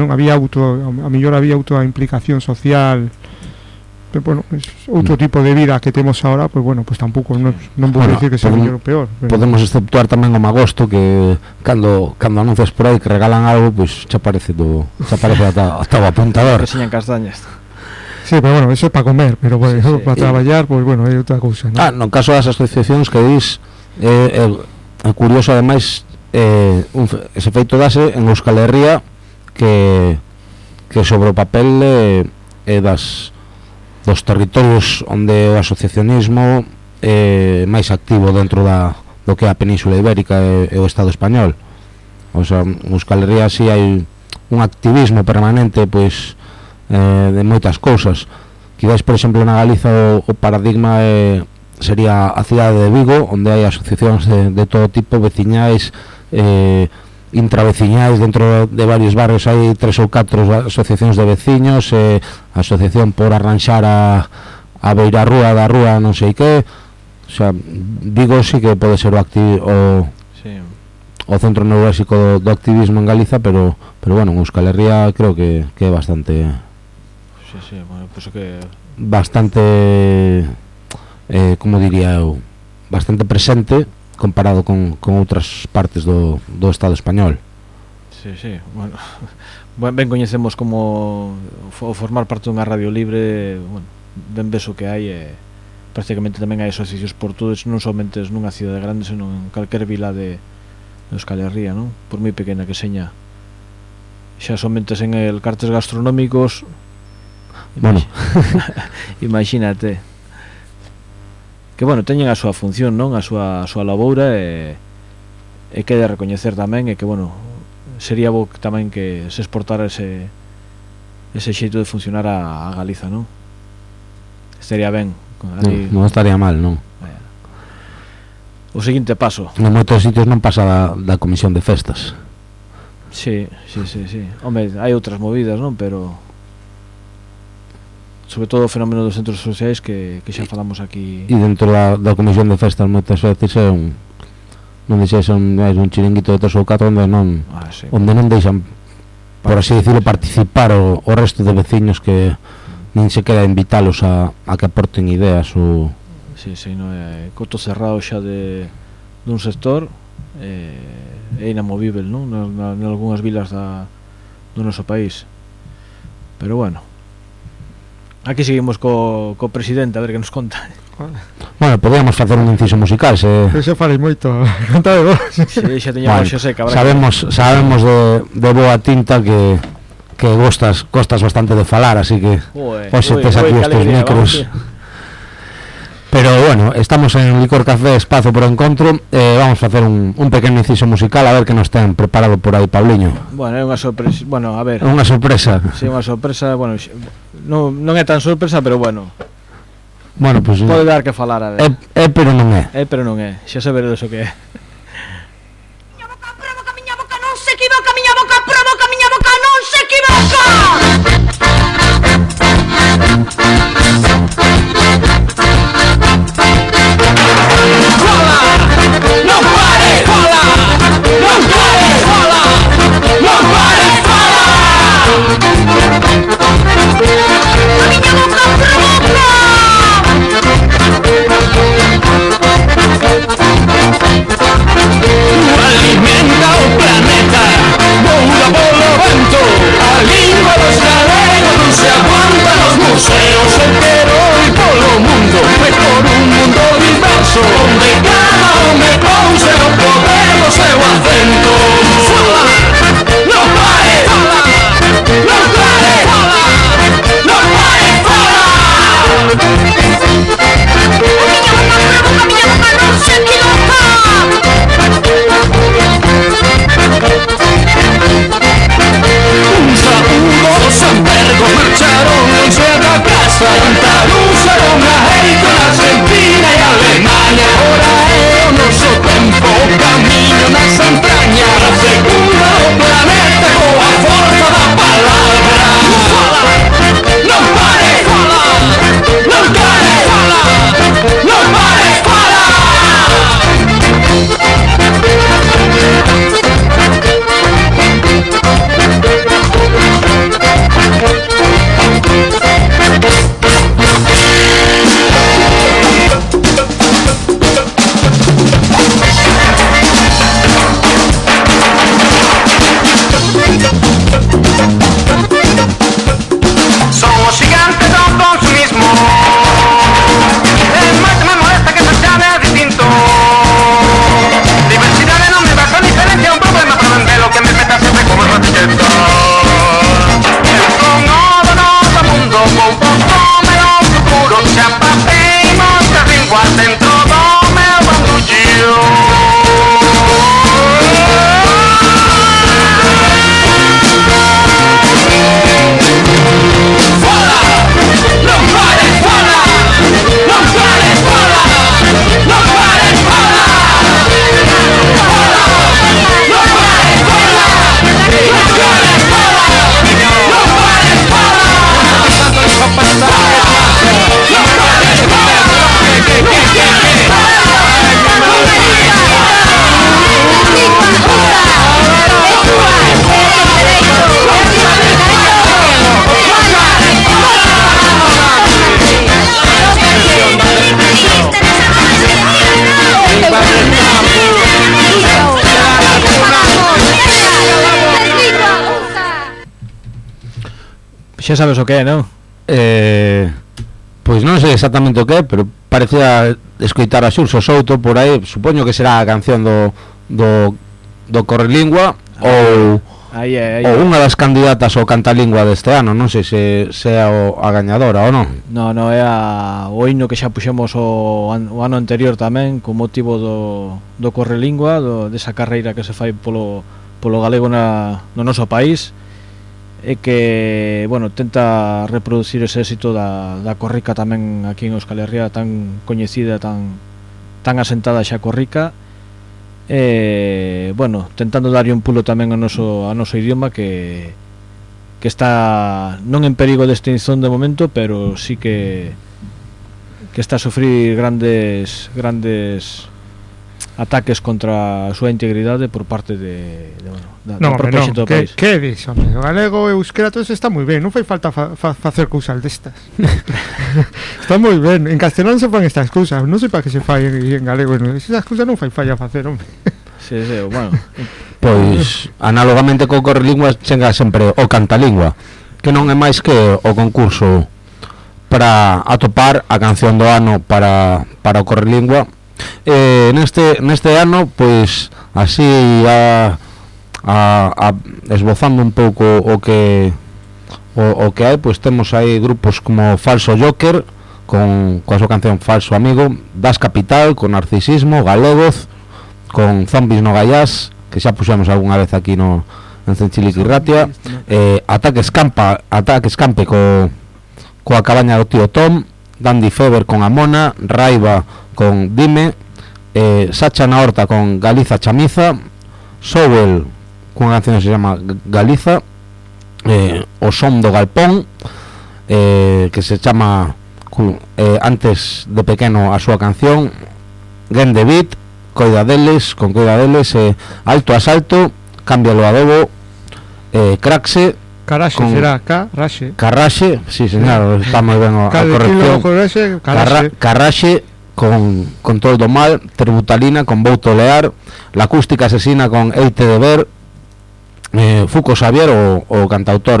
non había a mellor había a implicación social, pero bueno, es outro tipo de vida que temos agora, pois bueno, pois tampouco non vou dicir que sea mellor ou peor, pero podemos exceptuar tamén o Magosto, que cando anuncias por aí que regalan algo, pois xa aparece ata o apuntador, que señan castañas. Sí, pero bueno, eso é para comer, pero bueno, sí. Para traballar, pues bueno, é outra cousa, ¿no? No caso das asociacións que dis, é curioso ademais, ese feito dase en Euskal Herria, que sobre o papel é dos territorios onde o asociacionismo é máis activo dentro do que é a Península Ibérica e o Estado español. O sea, en Euskal Herria si hai un activismo permanente, pois de moitas cousas. Quizás, por exemplo, na Galiza o paradigma sería a cidade de Vigo, onde hai asociacións de todo tipo, veciñais, intraveciñais, dentro de varios barrios hai 3 ou 4 asociacións de veciños, asociación por arranxar a beirarrúa da rúa non sei que. O sea, Vigo sí que pode ser o centro neurálxico do activismo en Galiza, pero bueno, en Euskal Herria creo que é bastante bueno, pues que bastante como diría eu, bastante presente comparado con outras partes do Estado español. Sí, bueno, ben coñecemos como formar parte dunha radio libre, bueno, ben beso que hai, prácticamente tamén hai asociacións por todos, non somente nunha cidade grande, senón en calquer vila de Euskal Herria, non? Por moi pequena que seña. Xa somente en el cartes gastronómicos, bueno, imagínate. Que bueno, teñen a súa función, non? A súa laboura, e que de recoñecer tamén, e que bueno, sería bo tamén que se exportara ese xeito de funcionar a Galiza, non? Estaría ben. Non estaría mal, non? O seguinte paso. En moitos sitios non pasa da comisión de festas. Sí. Home, hai outras movidas, non? Pero sobre todo o fenómeno dos centros sociais que xa falamos aquí. E dentro da comisión de festas moitas veces é non deixes un chiringuito de 3 ou 4 onde non deixan, por así decirlo, participar o resto de veciños, que nin se queda invitalos a que aporten ideas ou... Sí, non é coto cerrado xa dun sector, é inamovível, non? En algunhas vilas do noso país. Pero bueno, aquí seguimos co presidente, a ver que nos conta. Bueno, podíamos facer un inciso musical, Pero xa falei moito, conta de vos. Sí, xa teñamos xa seca. Sabemos de boa tinta que gostas bastante de falar, así que hoxe tes aquí estes micros. Pero bueno, estamos en Licor Café, espazo por encontro, vamos a facer un pequeno inciso musical, a ver que nos ten preparado por aí Pauliño. Bueno, é unha sorpresa, bueno, a ver. É unha sorpresa. Sí, unha sorpresa, bueno, non é tan sorpresa, pero bueno. Bueno, pues pode dar que falar, a ver. Pero non é. Pero non é, xa saberedes o que é. Miña boca provoca, miña boca non se equivoca, miña boca provoca, miña boca non se equivoca. Alimenta o planeta, voa polo vento. A lingua dos galegos non se aguanta nos museos. Eu quero ir polo mundo, e por un mundo diverso, onde cada home pouse no poder do seu acento. Fala, non pare, fala, non non c'è da casa, tanta luce con México, en Argentina e Alemania. Ora è un nostro tempo, cammino nas entrañas, seguro o planeta con la forza da palabra. Non pare, non pare, non pare, somos gigantes del consumismo. Más me molesta que se llame distinto. Diversidad de nombre, razón, diferencia, un problema para vender lo que me meta siempre como el ratilleta. Con todo mundo, con poco menos futuro, se apapimos de lengua dentro do meu bandullo. Xa sabes o que é, non? Pois non sei exactamente o que é, pero parecía escoitar a Xurxo Souto por aí. Supoño que será a canción do Correlingua ou unha das candidatas ao Cantalingua deste ano. Non sei se é a gañadora ou non. Non, é o himno que xa puxemos o ano anterior tamén, con motivo do Correlingua, desa carreira que se fai polo galego no noso país, e que, bueno, tenta reproducir ese éxito da corrica tamén aquí en Euskal Herria, tan coñecida, tan asentada xa corrica, e, bueno, tentando darlle un pulo tamén ao noso idioma que está non en perigo de extinción de momento, pero sí que está a sufrir grandes ataques contra a súa integridade por parte da propia xente do país. Que dis, home? O galego e o euskera todo está moi ben, non fai falta facer cousas destas. Está moi ben. En castelán se fan estas cousas, non sei para que se fai en galego, esas cousas non fai falla facer, home. Sí, bueno. Pois análogamente co Correlingua chega sempre o Cantalingua, que non é máis que o concurso para atopar a canción do ano para o Correlingua. Neste ano, pois así esbozando un pouco o que hai, pois temos aí grupos como Falso Joker coa súa canción Falso Amigo, Das Capital con Narcisismo, Galegoz con Zombies no Gallás, que xa puxemos algunha vez aquí en Cenchiliquirratia, Ataque Escampe coa cabaña do tío Tom, Dandy Fever con Amona, Raiva con Dime, Sacha na Horta con Galiza Chamiza, Sowell con unha canción que se llama Galiza, o Som do Galpón, que se chama antes de pequeno a súa canción, Gen de Beat, Coida deles, Alto Asalto, Cámbialo Adobo, Craxe, Caraxe, será Carraxe, sí señor, está moi ben a corrección. Carraxe con Todo do Mal, Tributalina con Vou Tolear, La Acústica Asesina con Eite de Ver, Fuco Xavier, o cantautor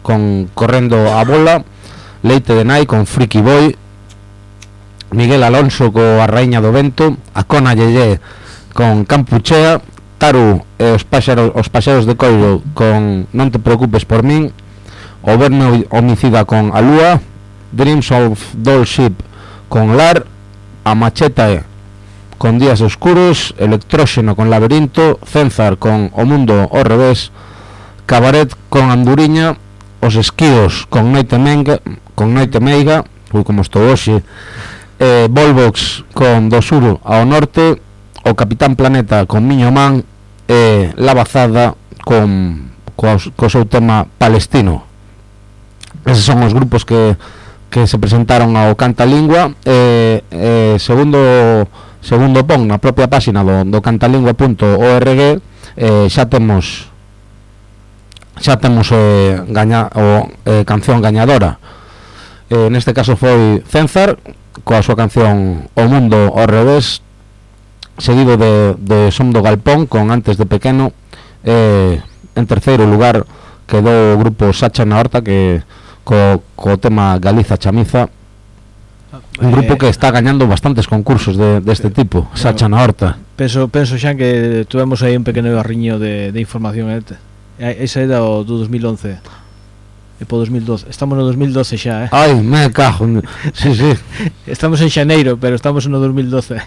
con Correndo a Bola, Leite de Nai con Friki Boy, Miguel Alonso co A Raíña do Vento, Acona Yeye con Campuchea, Taru e os paxaros de Coiro con Non te preocupes por min, O Verno Homicida con A Lúa, Dreams of Doll Ship con Lar, A Macheta con Días Oscuros, Electróxeno con Laberinto, Cenzar con O Mundo ao Revés, Cabaret con Anduriña, os esquíos con Noite Meiga, como estou hoxe, Volvox con Do Sur ao norte, o Capitán Planeta con Miño Man e La Bazada co seu tema palestino. Eses son os grupos que se presentaron ao Cantalingua. Segundo pon na propia páxina do cantalingua.org, xa temos canción gañadora. Neste caso foi Cenzar coa súa canción O Mundo ao Revés, seguido de Som do Galpón con Antes de Pequeno. En terceiro lugar quedou o grupo Sacha na Horta que co tema Galiza Chamiza, un grupo que está gañando bastantes concursos deste tipo, Sacha na Horta. Penso xa que tuvemos aí un pequeno arriño de información. Esa era do 2011 e po 2012, estamos no 2012 xa, Ai, me cajo. Sí. Estamos en xaneiro, pero estamos no 2012.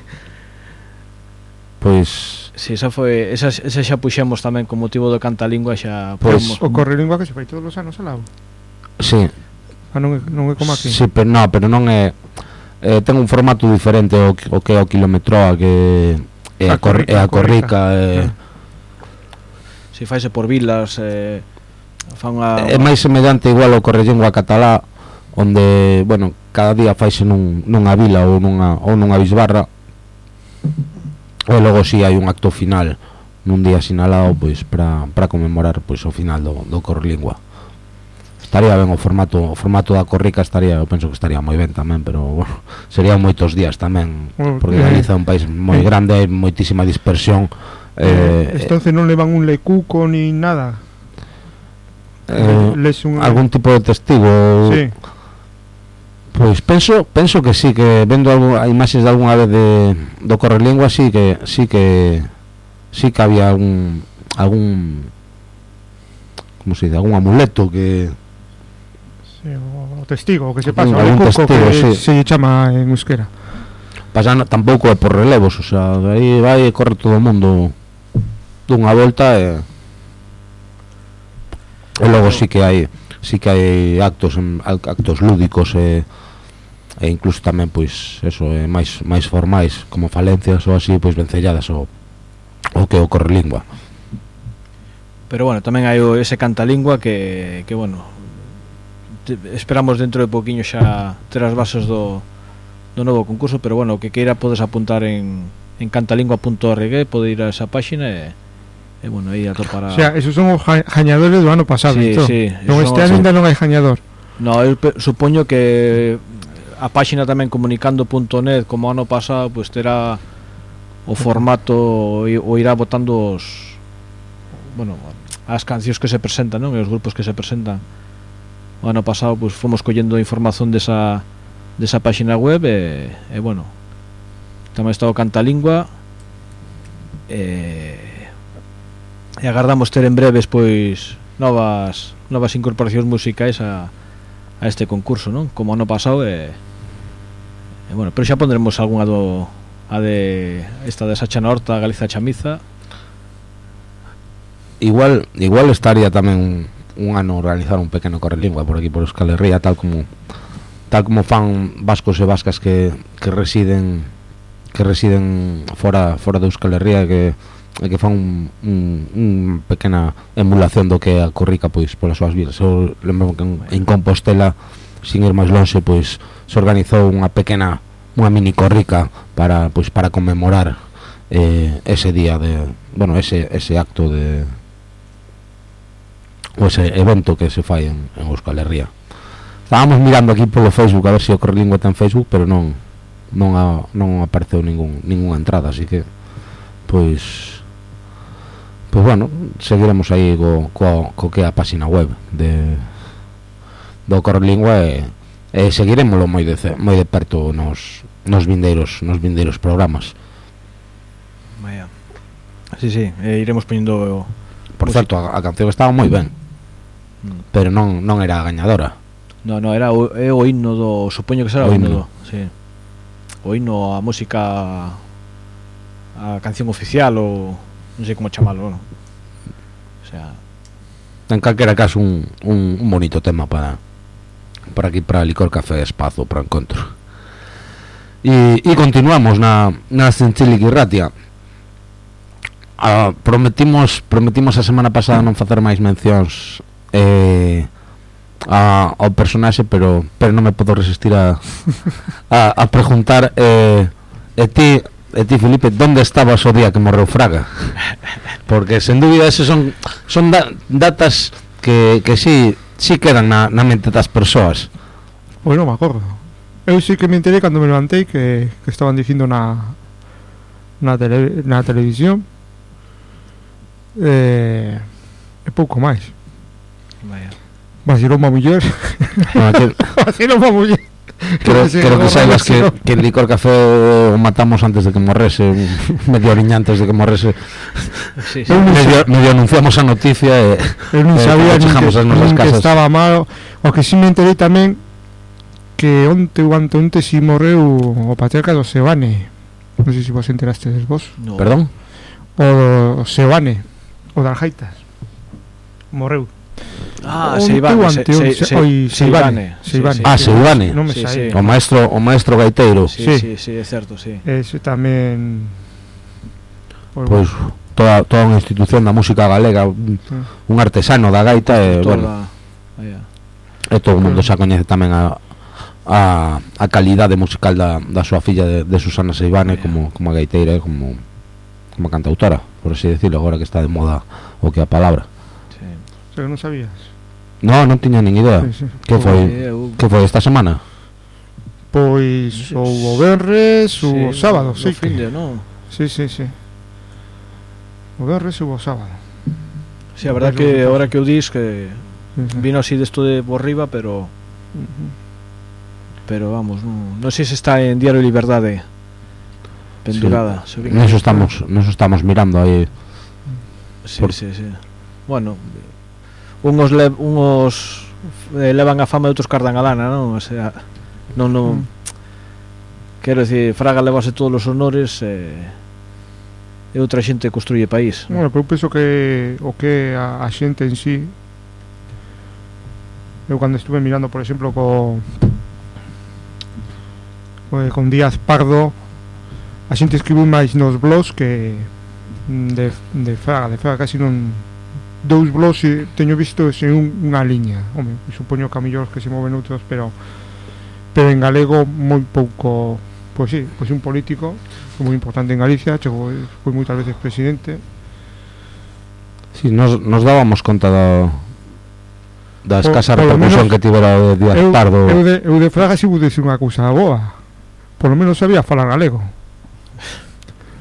Pois si, esa xa puxemos tamén con motivo do Cantalingua, xa pois o Correlingua que se fai todos os anos alao. Sí. Non é como aquí. Sí, pero non é, ten un formato diferente o que é o kilometroa, que é a Corrica. Si faise por vilas, é máis semellante igual ao Correlingua catalá, onde, bueno, cada día faise nunha vila ou nunha bisbarra, e logo si hai un acto final nun día sinalado, pois para conmemorar pois o final do Correlingua. Estaría ben o formato da Corrica, eu penso que estaría moi ben tamén, pero bueno, serían moitos días tamén, porque Galiza é un país moi grande, hai moitísima dispersión. Entonces non levan un lecuco ni nada. Algún tipo de testigo. Sí. Pois penso que sí, que vendo a imaxes de algunha vez do Correlingua, sí que había algún como se dice, algún amuleto que o testigo, o que se pasa, algún testigo, que sí. Se chama en euskera. Pasando tampouco é por relevos, o sea, aí vai e corre todo o mundo dunha volta e logo sí que hai actos lúdicos e incluso tamén pois eso, máis formais, como falencias ou así, pois vencelladas o que o Correlingua. Pero bueno, tamén hai ese Cantalingua que bueno, esperamos dentro de poquinho xa ter as bases do novo concurso, pero bueno, o que queira podes apuntar en cantalingua.org, pode ir a esa páxina e bueno, aí atopar O sea, esos son os gañadores do ano pasado. Sí, sí, non, este ano ainda non hai gañador. No, eu supoño que a páxina tamén comunicando.net como ano pasado, pois terá o formato ou irá botando as cancións que se presentan, non? E os grupos que se presentan. O ano pasado pois fomos collendo información desa páxina web e bueno, tamén está o Cantalingua e agardamos ter en breves pois novas incorporacións musicais a este concurso, non? Como ano pasado e bueno, pero xa pondremos algunha esta de Sacha na Horta, Galiza Chamiza. Igual estaría tamén un ano organizar un pequeno Correlingua por aquí por Euskal Herria, tal como fan vascos e vascas que residen fora de Euskal Herria, que fan un pequena emulación do que a Corrica pois polas súas vidas. Eu lembro que en Compostela, sin ir máis lonxe, pois se organizou unha mini Corrica para conmemorar ese día ese acto ou ese evento que se fai en Euskal Herria. Estábamos mirando aquí polo Facebook a ver se o Correlingua ten Facebook, pero non apareceu ningunha entrada, así que pois bueno, seguiremos aí co que é a página web do Correlingua e seguiremoslo moi de perto nos vindeiros programas. Vaya. Sí, iremos poñendo. Por certo, a canción estaba moi ben, pero non era a gañadora. No, era o himno do, supoño que será o himno do, sí. O himno, a música, a canción oficial ou non sei como chamalo, non? O sea, en calquera caso un bonito tema para aquí, para Licor Café Espazo, para encontro. E continuamos na Zintzilic Irratia. Prometimos a semana pasada non facer máis mencións ao personaxe, pero non me podo resistir a preguntar, e ti, Felipe, onde estabas o día que morreu Fraga? Porque sen dúbida eses son datas que sí quedan na mente das persoas. Pois non me acordo. Eu sí que me enterei cando me levantei que estaban dicindo na televisión, e pouco máis. Vacilou unha muller. Vacilou unha muller. Creo que saibas que el Licor Café o matamos antes de que morrese, medio oriña antes de que morrese. Sí. Medio anunciamos a noticia e eu non sabía que estaba malo. O que si me enterei tamén que onte si morreu o patriarca do Sebane. Non sei se vos enterastes vos. No. Perdón? O Sebane, o das Gaitas. Morreu. Seivane. Seivane. O maestro gaiteiro. Sí, é certo, sí. Ese tamén pois toda unha institución da música galega, un artesano da gaita, e bueno, e todo o mundo xa coñece tamén a calidade musical da súa filla de Susana Seivane como a gaiteira, como cantautora, por así decirlo, agora que está de moda o que a palabra. Pero non sabías? Non tiña nin idea. Sí. Que foi esta semana? Pois o venres, o sábado, sí. Finde, non? Sí. O venres ou o sábado. Sí, a verdad que agora que o dis que vino así desto de por riba, pero vamos, non sei se está en Diario Liberdade pendurada. Sí. Neso estamos mirando aí. Sí. Bueno, unos levan a fama e outros cardan a lana, non? O sea, non quero dicir, Fraga levase todos os honores e outra xente construye país. Bueno, pero eu penso que o que a xente en sí, eu cando estuve mirando, por exemplo, con Díaz Pardo, a xente escribiu máis nos blogs que de Fraga casi non. Dous blogs teño visto sen unha liña. Home, supoño que a mellor que se moven outros, pero en galego moi pouco. Pois sí, pois un político moi importante en Galicia, foi moitas veces presidente. Si, nos dábamos conta da escasa repercusión que tivera o de Díaz Pardo. Eu de Fraga si pude ser unha cousa boa. Por lo menos sabía falar galego.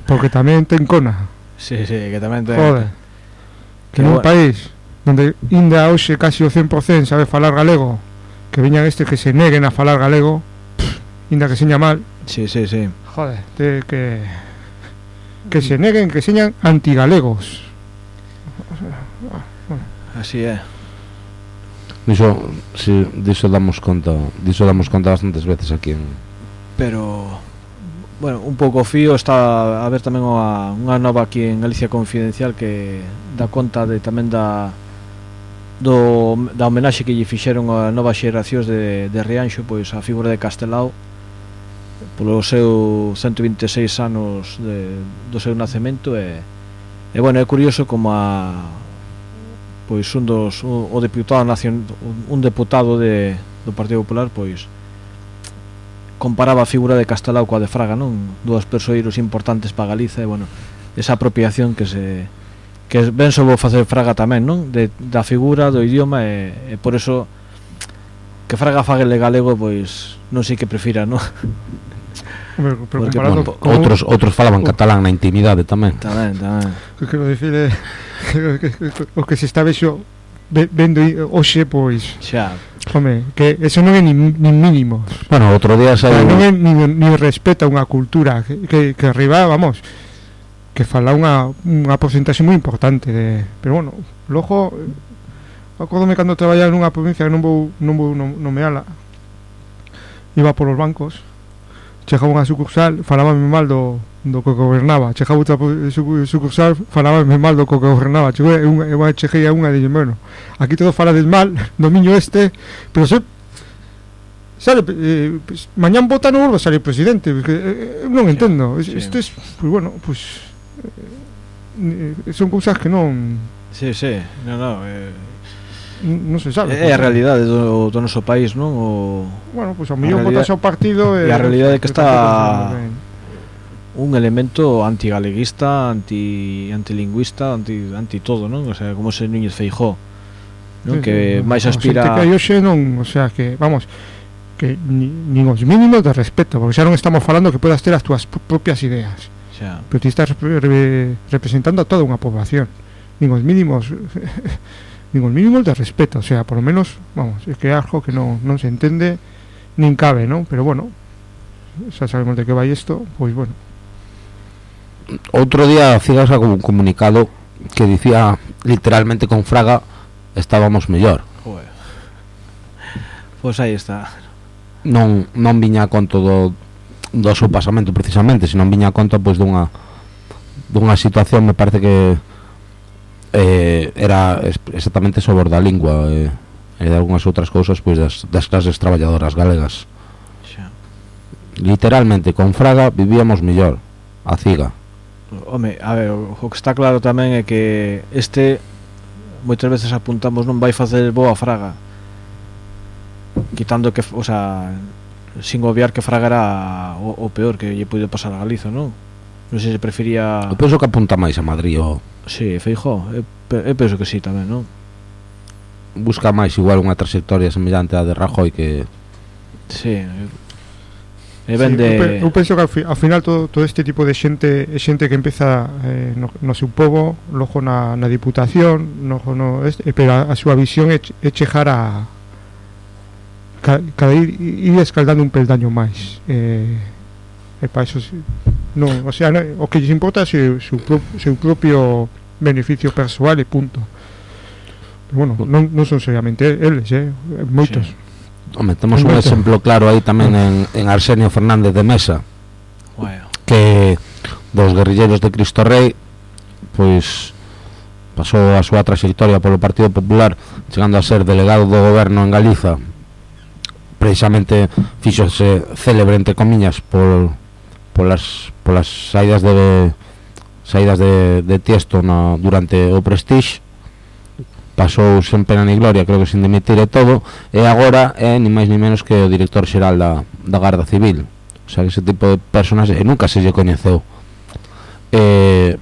Porque tamén ten cona. Sí, que tamén ten. Joder. Que nun país onde inda hoxe casi o 100% sabe falar galego, que viñan que se neguen a falar galego, inda que seña mal. Sí. Joder, que se neguen, que señan antigalegos. Así é. Diso damos conta bastantes veces aquí en... Pero bueno, un pouco fío está a ver tamén unha nova aquí en Galicia Confidencial que dá conta de tamén da homenaxe que lle fixeron a novas xeracións de Rianxo, pois a figura de Castelao polo seu 126 anos do seu nacemento, e bueno, é curioso como pois un deputado do Partido Popular pois comparaba a figura de Castelao coa de Fraga, non? Dúas persoeiros importantes para Galiza, e bueno, esa apropiación que ben só vou facer Fraga tamén, non? Da figura, do idioma, e por eso que Fraga faguele galego, pois non sei que prefira, non? Porque, outros falaban catalán na intimidade tamén. Tamén. Que quero dicir o que se está vendo hoxe, pois xa. Home, que eso non é nin mínimo. Bueno, outro día non é nin respeto a unha cultura que arriba, vamos, que fala unha porcentaxe moi importante pero bueno, logo acórdome cando traballaba nunha provincia que non vou nomeala, iba por os bancos, chegaba unha sucursal, falábame mal do do que gobernaba. Chegaba outra sucursal, falábame mal do que gobernaba. Chegou cheguei a unha e dixen, bueno, aquí todo falades mal do miño pero sale, pues, mañán vota non volve a salir presidente, porque non entendo. Isto é, pues bueno, pues son cousas que non non se sabe. É a realidade do noso país, non? Bueno, pues ao millón votas ao partido e a realidade é que está un elemento antigaleguista, antilingüista, anti todo, non? O sea, como ese Núñez Feijóo, non? Que máis aspira que hoxe non, o sea, que vamos, que nin os mínimos de respeto, porque xa non estamos falando que podas ter as túas propias ideas, pero ti estás representando a toda unha poboación. Nin os mínimos de respeto, o sea, por lo menos, vamos, é que é algo que non se entende nin cabe, non? Pero bueno, xa sabemos de que vai isto, pois bueno. Outro día Cigas sacou un comunicado que dicía literalmente con Fraga estábamos mellor. Pois aí está. Non viña a conto do seu pasamento precisamente, senón viña a conto pois dunha situación, me parece que era exactamente sobre da lingua e de algunhas outras cousas pois das clases traballadoras galegas. Literalmente con Fraga vivíamos mellor, a Ciga. Home, a ver, o que está claro tamén é que moitas veces apuntamos non vai facer boa Fraga, quitando que, o sea, sin obviar que Fraga era o peor que lle puido pasar a Galiza, non? Non sei se prefería... Eu penso que apunta máis a Madrid o... Sí, Feijóo, eu penso que sí tamén, non? Busca máis igual unha trayectoria semellante a de Rajoy que... Sí, eu penso que ao final todo este tipo de xente é xente que empeza no seu pobo, logo na diputación, pero a súa visión é chegar a cada ir escaldando un peldaño máis, e para eso non, o sea, o que lles importa é seu propio beneficio persoal e punto. Pero bueno, non son seriamente eles, moitos. Sí. Home, temos un exemplo claro aí tamén en Arsenio Fernández de Mesa, que dos guerrilleros de Cristo Rei pois pasou a súa trayectoria polo Partido Popular, chegando a ser delegado do goberno en Galiza. Precisamente fíxose célebre entre comiñas polas saídas de Tiesto durante o Prestige. Pasou sen pena ni gloria, creo que sin dimitir e todo, e agora é ni máis ni menos que o director xeral da Garda Civil. O sea, que ese tipo de personas nunca se lle coñeceu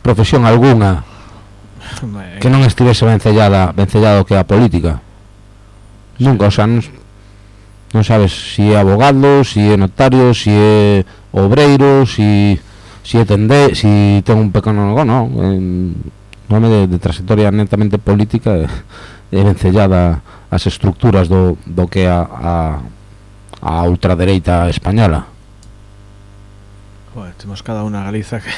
profesión algunha que non estivese vencellado que a política. Nunca, o sea, non sabes si é abogado, si é notario, si é obreiro, si ten un pequeno nome de trayectoria netamente política e vencellada ás estructuras do que é a ultradereita española. Joder, temos cada unha Galiza que...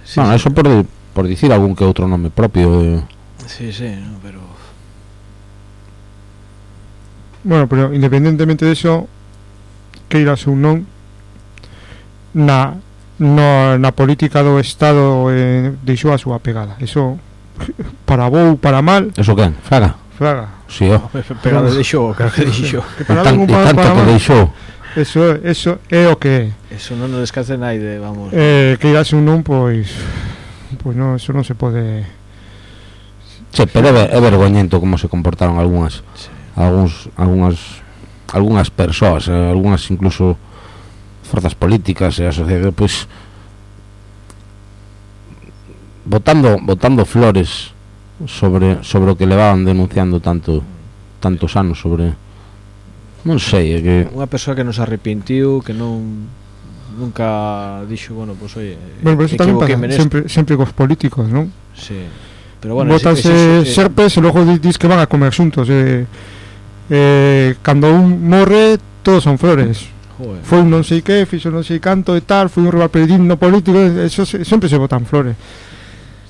Sí, bueno, eso por dicir algún que outro nome propio. Sí, no, pero... Bueno, pero independentemente de eso, que irás un non na política do Estado deixou a súa pegada. Eso, para bo ou para mal. Eso quen? Fraga? Sí, pegada deixou, claro que deixou. Tanto que deixou. Eso é o que é. Eso non nos descanse naide, vamos. Que irás un non, pois non, eso non se pode. Sí, pero é vergoñento como se comportaron algunhas persoas, algunhas incluso forzas políticas e a sociedade, pois botando flores sobre o que levaban denunciando tantos anos sobre, non sei, é que unha persoa que nos arrepentiu, que nunca dixo, bueno, pois oye, bueno, pero eso tamén pasa sempre cos políticos, non? Sí, pero bueno, botanse serpes e logo dis que van a comer xuntos, cando un morre todos son flores. Joder. Foi non sei que, fixo non sei canto e tal, foi un rival peregrino político, eso sempre se botan flores.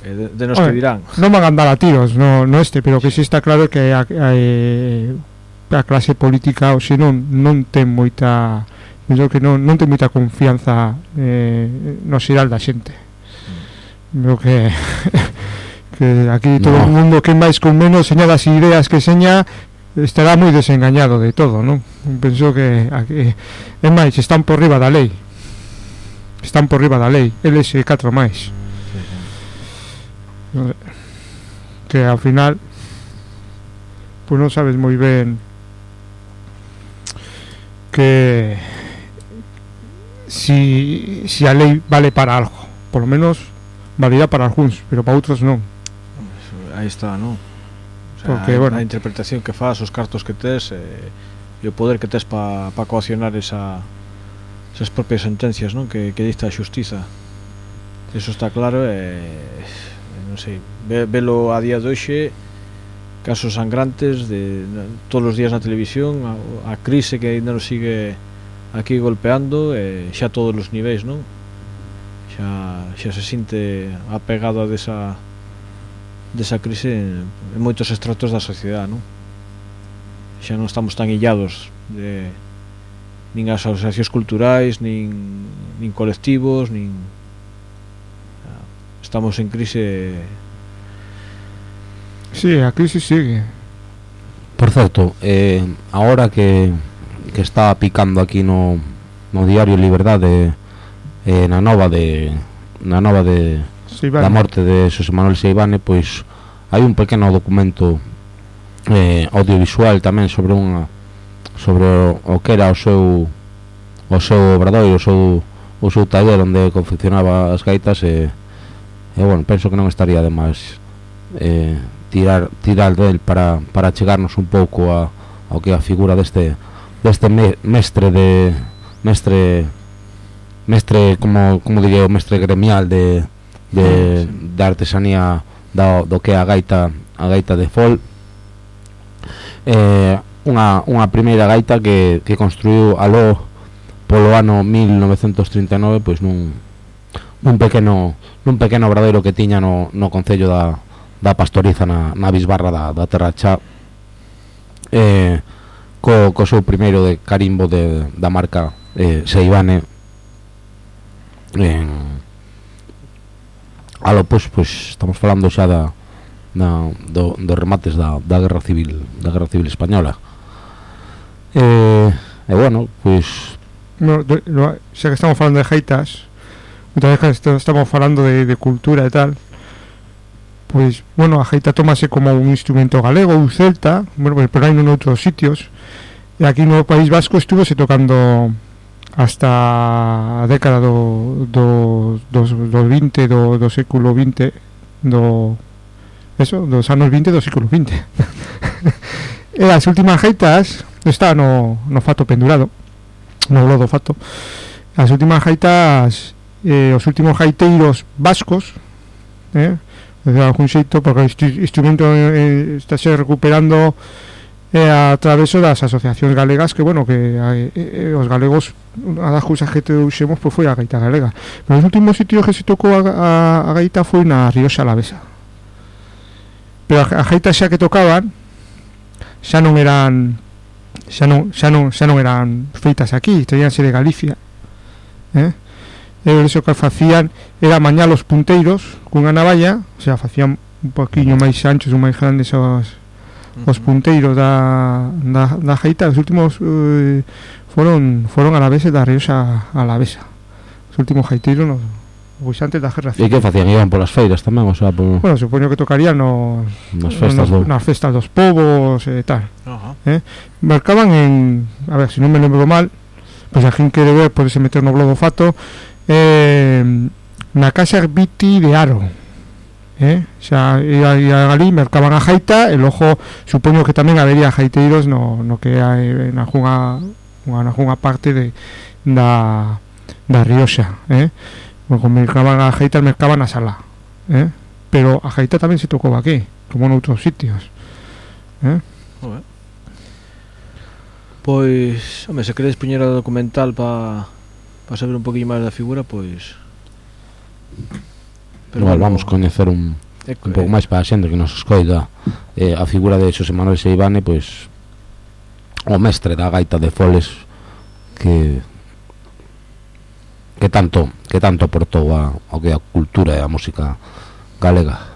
De nos que dirán. Non van a andar a tiros, no pero que si está claro que a clase política hoxe non ten moita penso que non ten moita confianza no xeral da xente. Creo que que aquí todo o mundo que máis con menos seña das ideas que seña estará moi desengañado de todo, non? Penso que aquí, é máis, están por riba da lei. Están por riba da lei, eles e 4 máis. Que ao final pues non sabes moi ben que si a lei vale para algo, por lo menos valía para algúns, pero para outros non. Aí está, non? O sea, porque, bueno, a interpretación que faz, os cartos que tes e o poder que tes para coaccionar esas propias sentencias, non? Que dicta a xustiza. Eso está claro non sei, velo a día de hoxe, casos sangrantes de todos os días na televisión, a crise que ainda nos sigue aquí golpeando, xa todos os niveis, non? Xa se sinte apegado a desa crise en moitos estratos da sociedade, non? Xa non estamos tan illados nin as asociacións culturais, nin colectivos, estamos en crise. Sí, a crise sigue. Por certo, agora que está picando aquí no diario Liberdade, na nova de da morte de Xosé Manuel Seivane, pois hai un pequeno documento audiovisual tamén sobre o que era o seu obradoiro, o seu taller onde confeccionaba as gaitas, e bueno, penso que non estaría de máis tirar del para chegarnos un pouco ao que a figura deste mestre, como diría, o mestre gremial de artesanía do que é a gaita de fol. Unha primeira gaita que construiu aló polo ano 1939, pois nun pequeno obradoiro que tiña no concello da Pastoriza, na bisbarra da Terra Chá, co seu primeiro de carimbo da marca Seivane. Pois estamos falando xa dos remates da Guerra Civil Española. E bueno, pois xa que estamos falando de gaitas, outra vez que estamos falando de cultura e tal, pois, bueno, a gaita tómase como un instrumento galego, un celta, bueno, pero hai noutros sitios, e aquí no País Vasco estuvose tocando hasta a década do 20 do século 20, dos anos 20 do século 20. E as últimas gaitas está no fato pendurado, no lodo fato. As últimas gaitas, os últimos gaiteiros vascos, de algún xeito, porque o instrumento está se recuperando a través das asociacións galegas, que bueno, que os galegos, unha das cousas que trouxemos pois foi a gaita galega, pero os últimos sitios que se tocou a gaita foi na Rioxa Alavesa, pero a gaita xa que tocaban xa non eran feitas aquí, teníanse de Galicia, e eso que facían era mañar os punteiros cunha navalla, o sea, facían un poquinho máis anchos ou máis grandes os punteiros da gaita. Os últimos foron alaveses da Rioxa Alavesa, os últimos gaiteiros pois antes da Guerra Civil. E que facían? Iban polas feiras tamén, o sea, bueno, supoño que tocarían nas festas dos povos e tal. Marcaban a ver, se non me lembro mal, pois a quen quere ver, podese meter no blog do fato, na casa Viti de Aro, xa ia ali, mercaban a gaita, e logo supoño que tamén habería gaiteiros no que hai na algunha parte da Rioxa, porque mercaban a gaita, mercaban a sala, pero a gaita tamén se tocou aquí, como noutros sitios. Pois, home, se queredes poñer o documental para saber un poquinho máis da figura, pois igual vamos coñecer un pouco máis para a xente que nos escoita a figura de Xosé Manuel Seivane, pois o mestre da gaita de foles, que que tanto aportou ao que a cultura e a música galega.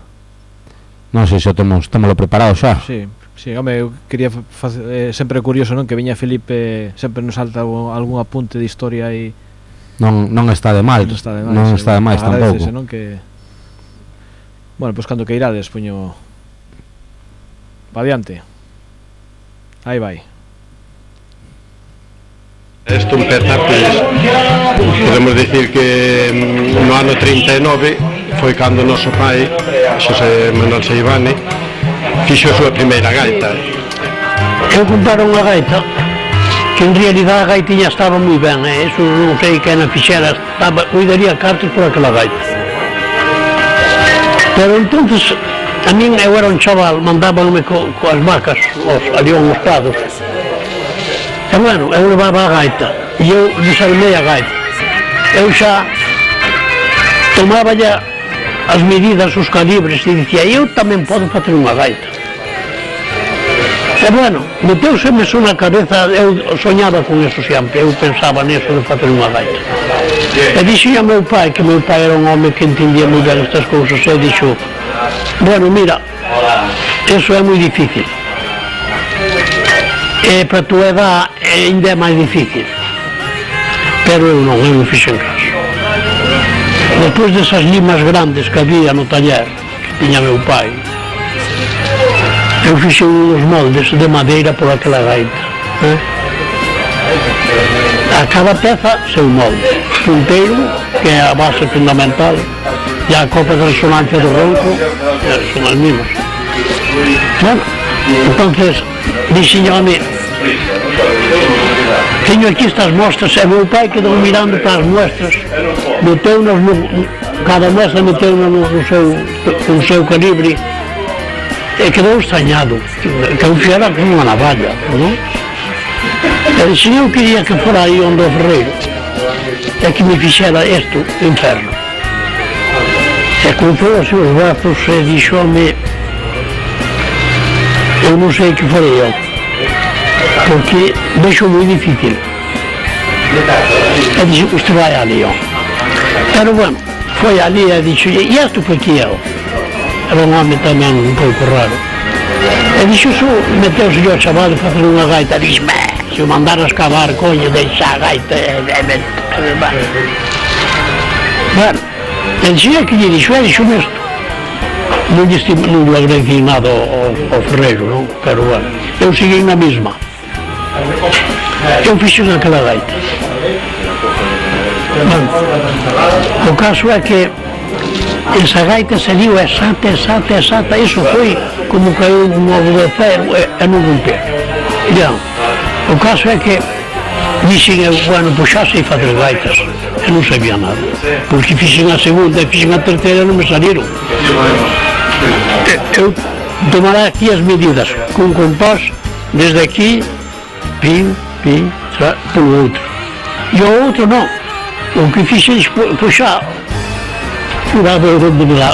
Non sei se temos preparado xa. Sí, home, eu quería facer, sempre é curioso, non, que viña Felipe, sempre nos salta algún apunte de historia e non está de mal. Non está de máis tampouco. Non, que bueno, pois cando que irades poño pa diante. Aí vai. Isto empeza, podemos dicir que no ano 39 foi cando o noso pai, Xosé Manuel Seivane, fixo a súa primeira gaita. Eu comprara unha gaita que en realidad a gaitiña estaba moi ben, eso non sei que na fixera, cuidaría cartos por aquela gaita. Pero entonces a min, eu era un chaval, mandábanme coas vacas ali aos prados. E bueno, eu levaba a gaita e eu desarmei a gaita. Eu xa tomaba ya as medidas, os calibres e dicía, eu tamén podo facer unha gaita. E bueno, meteuseme eso na cabeza, eu soñaba con eso sempre, eu pensaba neso de facer unha gaita. E dixía meu pai, que meu pai era un home que entendía moi ben estas cousas, e dixo, bueno, mira, eso é moi difícil. E para tu edad ainda é máis difícil, pero eu non fixen caso. Depois desas limas grandes que había no taller que tiña meu pai, eu fixen uns moldes de madeira por aquela gaita, a cada peza seu molde, punteiro, que é a base fundamental, e a copa de resonancia do ronco son as mismas. Bueno, entonces dixenme, teño aquí estas mostras, e meu pai quedou mirando para as mostras, meteu-nos cada mostra meteu-nos no seu calibre, e quedou extrañado, que eu fixera con unha navalla, non? E dixen, eu quería que fora aí onde o ferreiro, e que me fixera isto, inferno. E cruzou os seus brazos e dixome, eu non sei que farei eu, porque vexo moi difícil. E dixo, usted vai a León. Pero bueno, foi ali e dixo, e isto foi que eu? Era un home tamén un pouco raro. E dixo, meteuse yo a chaval de facer unha gaita, dixo, se o mandaras cavar, coño, deixa a gaita, bueno, e dixo, que lle dixo, isto. Non lle agradeci nada ao ferreiro, non? Pero bueno, eu segui na mesma. Eu fixen aquela gaita. Bueno, o caso é que esa gaita saliu exata, iso foi como caiu un ovo de ferro e non rompeu. Ya, o caso é que dixen eu, bueno, pois xa sei fazer gaitas, e non sabía nada, porque fixen a segunda e fixen a terceira e non me saliron. Eu tomará aquí as medidas con compás desde aquí, pin, polo outro, e o outro non, o que fixen pois xa furaba o onde me dá,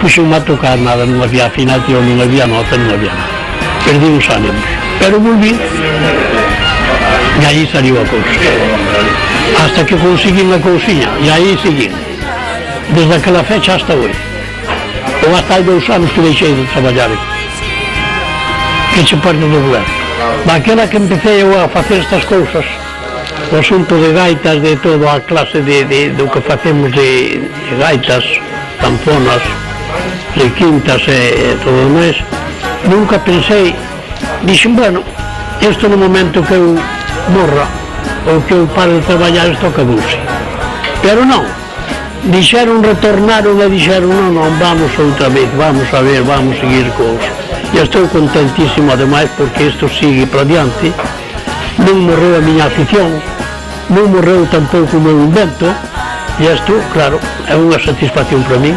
puxen-me a tocar nada, non había afinación, non había nota, non había nada, perdi os ánimos, pero volví e aí saliu a cousa, hasta que consegui a cousiña, e aí segui desde aquela fecha hasta hoje, ou hasta hai 2 anos que deixei de traballar, que se parte do goberno. Daquela que empecé eu a facer estas cousas, o asunto de gaitas, de toda a clase do que facemos de gaitas, tamponas, de quintas e todo o máis, nunca pensei, dixen, bueno, isto no momento que eu morra ou que eu pare de traballar, isto acabouse. Pero non, dixeron, retornaron e dixeron, non, vamos outra vez, vamos a ver, vamos seguir cos. E estou contentísimo ademais porque isto sigue para diante, non morreu a miña afición, non morreu tampouco o meu invento, e isto, claro, é unha satisfacción para min.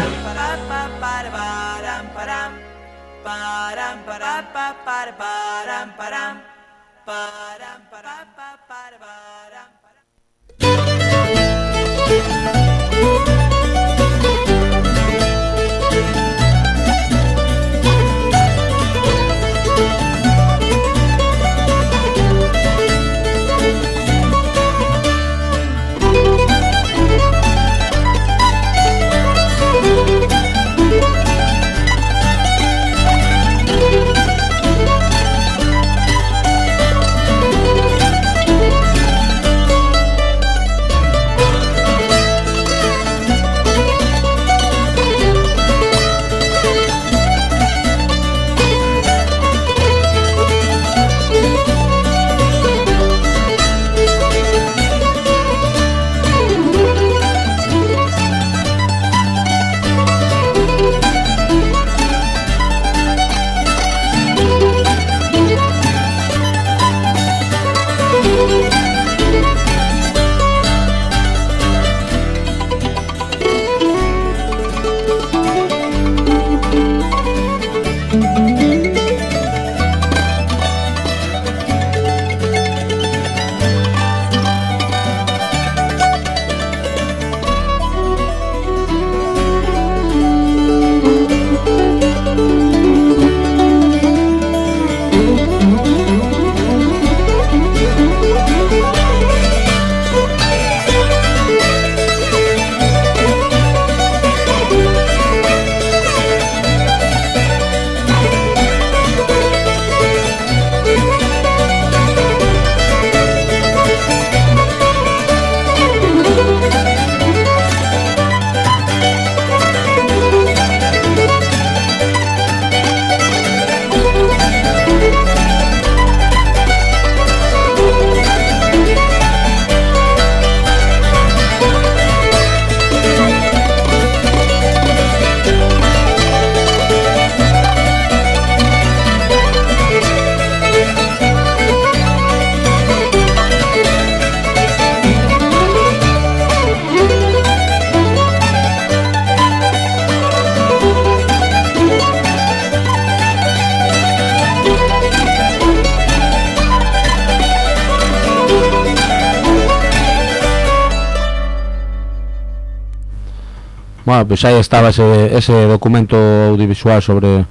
Bueno, pois aí estaba ese documento audiovisual sobre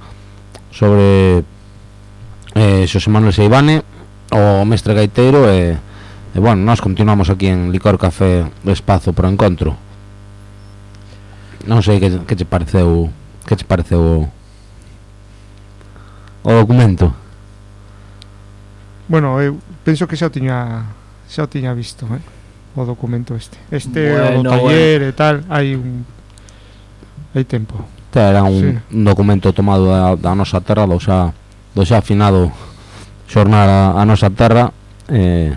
Xosé Manuel Seivane, o mestre gaiteiro, e bueno, nós continuamos aquí en Licor Café do Espazo pro Encontro. Non sei que che pareceu o documento. Bueno, eu penso que xa o tiña visto, o documento este bueno, o do taller e tal, hai tempo. Era un documento tomado da nosa terra, do xa afinado xornal a nosa terra, e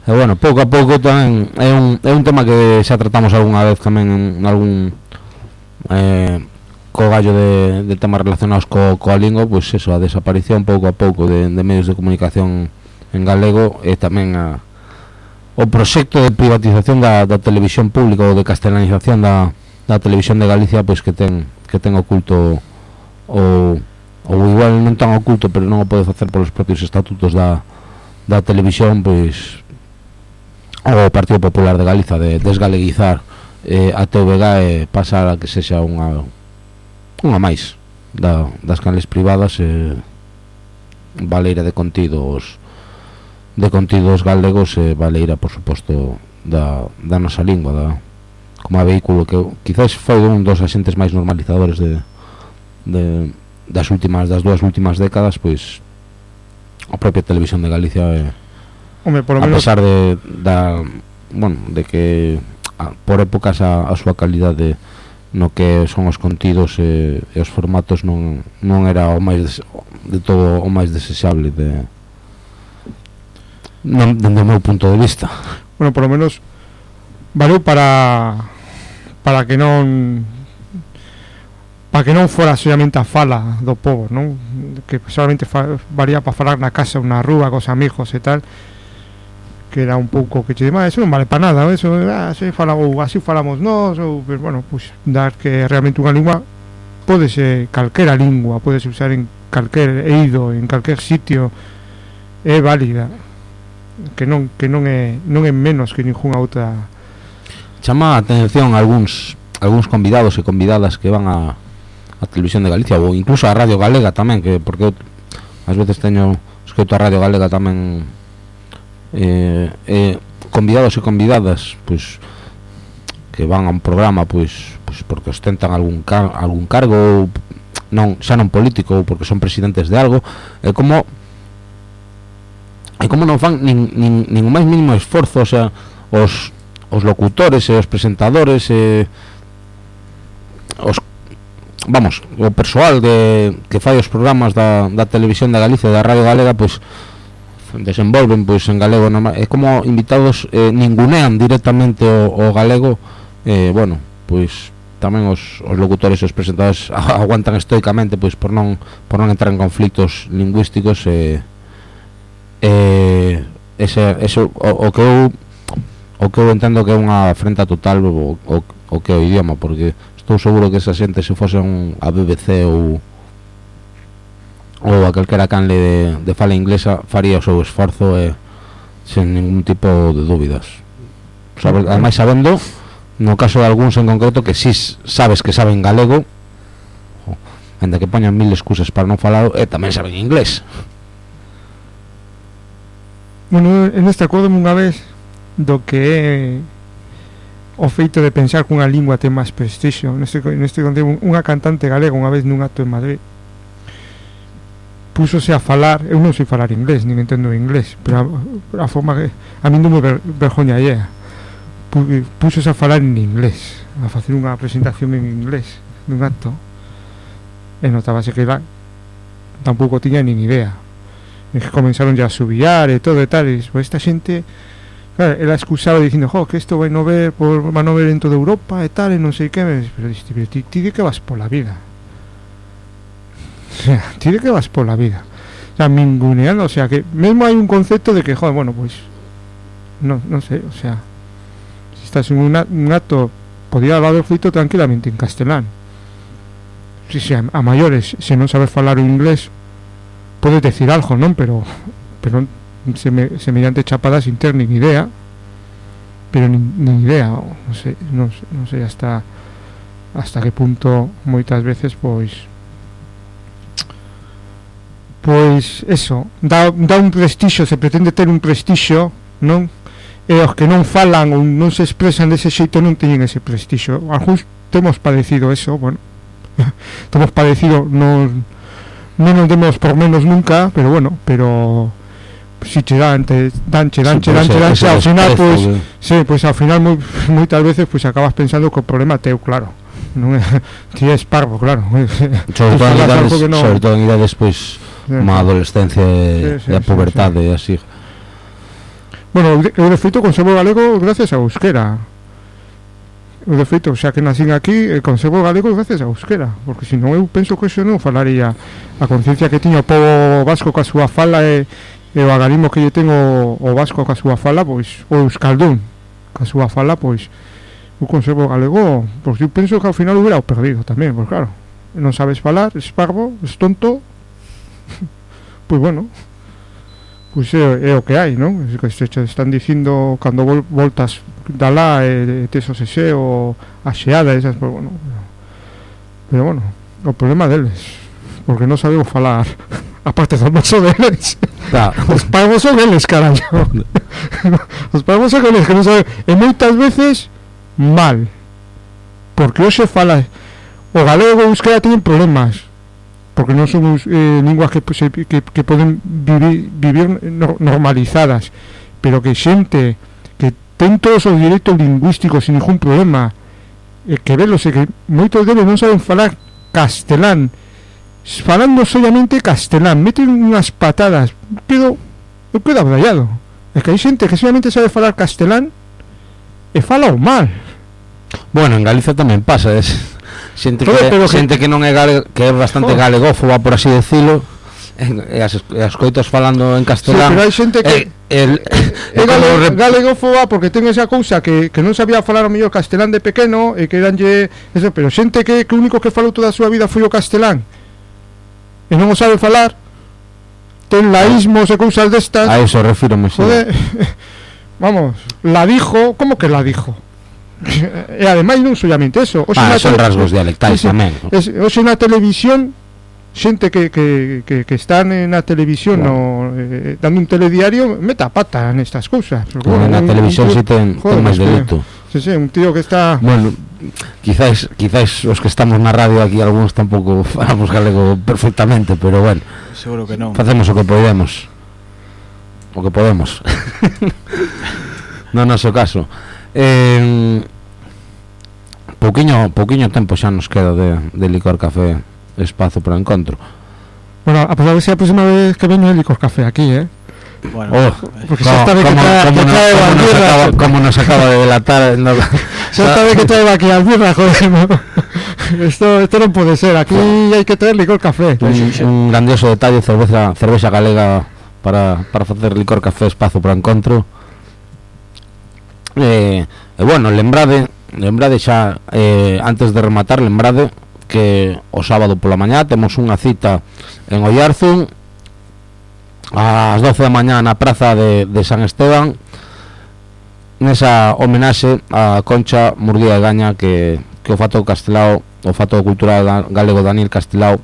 bueno, pouco a pouco tamén é un tema que xa tratamos algunha vez tamén en algún co gallo de temas relacionados coa lingua, pois eso, a desaparición pouco a pouco de medios de comunicación en galego, e tamén o proxecto de privatización da televisión pública ou de castelanización da televisión de Galicia, pois que ten oculto ou igual non tan oculto, pero non o pode facer polos propios estatutos da televisión, pois o Partido Popular de Galiza de desgaleguizar a TVG e pasar a que sexa unha máis das canles privadas, valeira de contidos galegos, e valeira, por suposto, da nosa lingua, como a vehículo que quizás foi un dos axentes máis normalizadores das dúas últimas décadas, pois a propia televisión de Galicia, Hombre, por lo a menos, pesar de que por épocas a súa calidade no que son os contidos e os formatos non era o máis de todo o máis desexable dende o meu punto de vista. Bueno, por lo menos valeu para que non fora solamente a fala do povo, non? Que solamente valía para falar na casa ou na rúa cos amigos e tal, que era un pouco que che dima, eso non vale para nada, eso, así falamos nós, ou, pero bueno, pues, dar que realmente unha lingua pódese, calquera lingua pódese usar en calquer eido, en calquer sitio, é válida, que non é menos que ninguna outra. Chama a atención algúns convidados e convidadas que van a Televisión de Galicia, ou incluso a Radio Galega tamén, que porque ás veces escoito a Radio Galega tamén, convidados e convidadas, pois que van a un programa pois porque ostentan algún cargo, xa non político, ou porque son presidentes de algo, e como non fan nin máis mínimo esforzo, o sea, os locutores e os presentadores e o persoal que fai os programas da Televisión de Galicia e da Radio Galega, pois desenvolven pois en galego, é como invitados, ningunean directamente o galego, bueno, pois tamén os locutores e os presentadores aguantan estoicamente pois por non entrar en conflictos lingüísticos, eso o que eu entendo que é unha afrenta total o que é o idioma, porque estou seguro que esa xente, se fose a BBC ou a calquera canle de fala inglesa, faría o seu esforzo sen ningún tipo de dúbidas, ademais sabendo, no caso de algúns en concreto, que si sabes que saben galego, ainda que poñan mil excusas para non falar, tamén saben inglés. Bueno, en este acordo unha vez do que é o feito de pensar que unha lingua ten máis prestixio. Neste contigo, unha cantante galega unha vez nun acto en Madrid púsose a falar, eu non sei falar inglés, nin entendo inglés, pero a forma que a mí non me vergoña allea, púsose a falar en inglés, a facer unha presentación en inglés nun acto, e notábase que tampouco tiña nin idea, e que comenzaron ya a subillar e todo e tal, e esta xente, claro, ela excusaba dicindo, que isto vai no ver en toda Europa e tal, e non sei que, pero ti de que vas pola vida, o sea, ti de que vas pola vida, o sea, ninguneando, o sea, que mesmo hai un concepto de que, bueno, pois non sei, o sea, se estás en un acto, podía haber feito tranquilamente en castelán, a maiores, se non sabes falar o inglés, podes decir algo, non? Pero semellante chapada sin ter nin idea, pero nin idea, non sei hasta hasta que punto moitas veces pois eso dá un prestixio, se pretende ter un prestixio, non? E os que non falan ou non se expresan dese xeito non teñen ese prestixio. Algúns temos padecido eso, bueno, temos padecido, non nos demos por menos nunca, pero bueno, si che dan ao final, pois sí, pois ao final moitas veces pois acabas pensando que o problema teu, claro, non é ti és parvo, claro. Sobre todo en idades pois como a adolescencia e a pubertade e así. Bueno, eu de feito conservo galego gracias ao euskera. Eu de feito, xa que nacín aquí, conservo galego gracias ao euskera, porque senón eu penso que eso non falaría a conciencia que tiña o pobo vasco ca súa fala e o agarismo que lle tengo o vasco ca súa fala, pois o euskaldún ca súa fala, pois eu conservo galego, pois eu penso que ao final hubiera o perdido tamén, pois claro, non sabes falar, es parvo, es tonto, pois bueno, pois é o que hai, non? É que se están dicindo cando voltas da lá tes o sese ou a xeada esas, pois bueno, pero bueno, o problema deles, porque non sabemos falar aparte do noso deles. Os parvos son eles, carallo. Os parvos son eles que non saben, e moitas veces mal, porque hoxe fala o galego e o euskera teñen problemas, porque non son linguas que poden vivir normalizadas, pero que xente que ten todos os direitos lingüísticos sin ningún problema, que velos e que moitos deles non saben falar castelán, falando solamente castelán, meten unhas patadas, eu quedo abrallado. É que hai xente que solamente sabe falar castelán e fala o mal. Bueno, en Galicia tamén pasa, xente que non é que é bastante galegófoba, por así decirlo, e as coitas falando en castelán. Sí, pero hai xente que é galegófoba porque ten esa cousa que non sabía falar o mellor castelán de pequeno e que danlle eso, pero xente que o único que falou toda a súa vida foi o castelán e non o sabe falar, ten laísmos e cousas destas. A eso refírome, sí. Vamos, la dijo, como que la dijo? E ademais non solamente eso, son rasgos dialectais tamén. Hoxe na televisión, xente que están na televisión dando un telediario, meta a pata nestas cousas. Na televisión si ten máis delito. Sí, un tío que está... Bueno, quizás os que estamos na radio aquí algúns tampouco falamos galego perfectamente, pero bueno, seguro que non. Facemos o que podemos. No noso caso. Pouquiño tempo xa nos queda de Licor Café Espazo para o Encontro. Bueno, a pesar de ser a próxima vez que veño el Licor Café aquí, Bueno, porque xa está que trae como nos acaba de delatar xa está que trae aquí as birras, joder, esto non pode ser, aquí hai que traer Licor Café. Un grandioso detalle, cervexa galega para facer Licor Café Espazo para o Encontro. E bueno, lembrade xa, antes de rematar, lembrade que o sábado pola mañá temos unha cita en Ollarzún ás 12 da mañá na praza de San Esteban, nesa homenaxe a Concha Murguía Gaña que o fato castelao, o fato cultural galego Daniel Castelao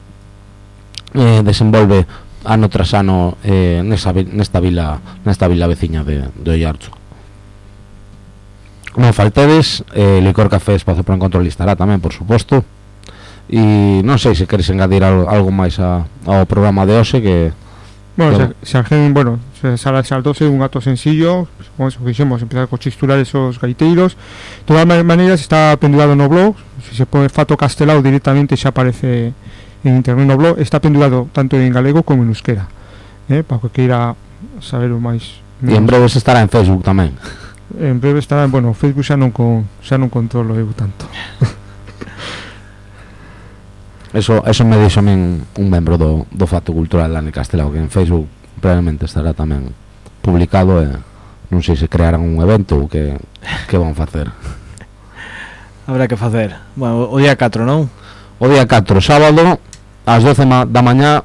desenvolve ano tras ano nesta vila veciña de Ollarzún. Non faltedes, Licor Café Espazo para o Encontro estará tamén, por suposto. E non sei se queres engadir algo máis ao programa de hoxe que... Bueno, se saldose un acto sencillo, como fixemos, empezar co chisturar esos gaiteiros. De todas maneiras está pendurado no blog, se pone Fato Castelao directamente xa aparece en internet no blog, está pendurado tanto en galego como en euskera, para que queira saber o máis. E en breve se estará en Facebook tamén. En breve estará, bueno, Facebook xa non controlo eu tanto. Eso me dixo un membro do Fato Cultural lá en Castelao, que en Facebook probablemente estará tamén publicado e non sei se crearán un evento ou que van facer. Habrá que facer. Bueno, o día 4, non? O día 4, sábado, ás 12 da mañá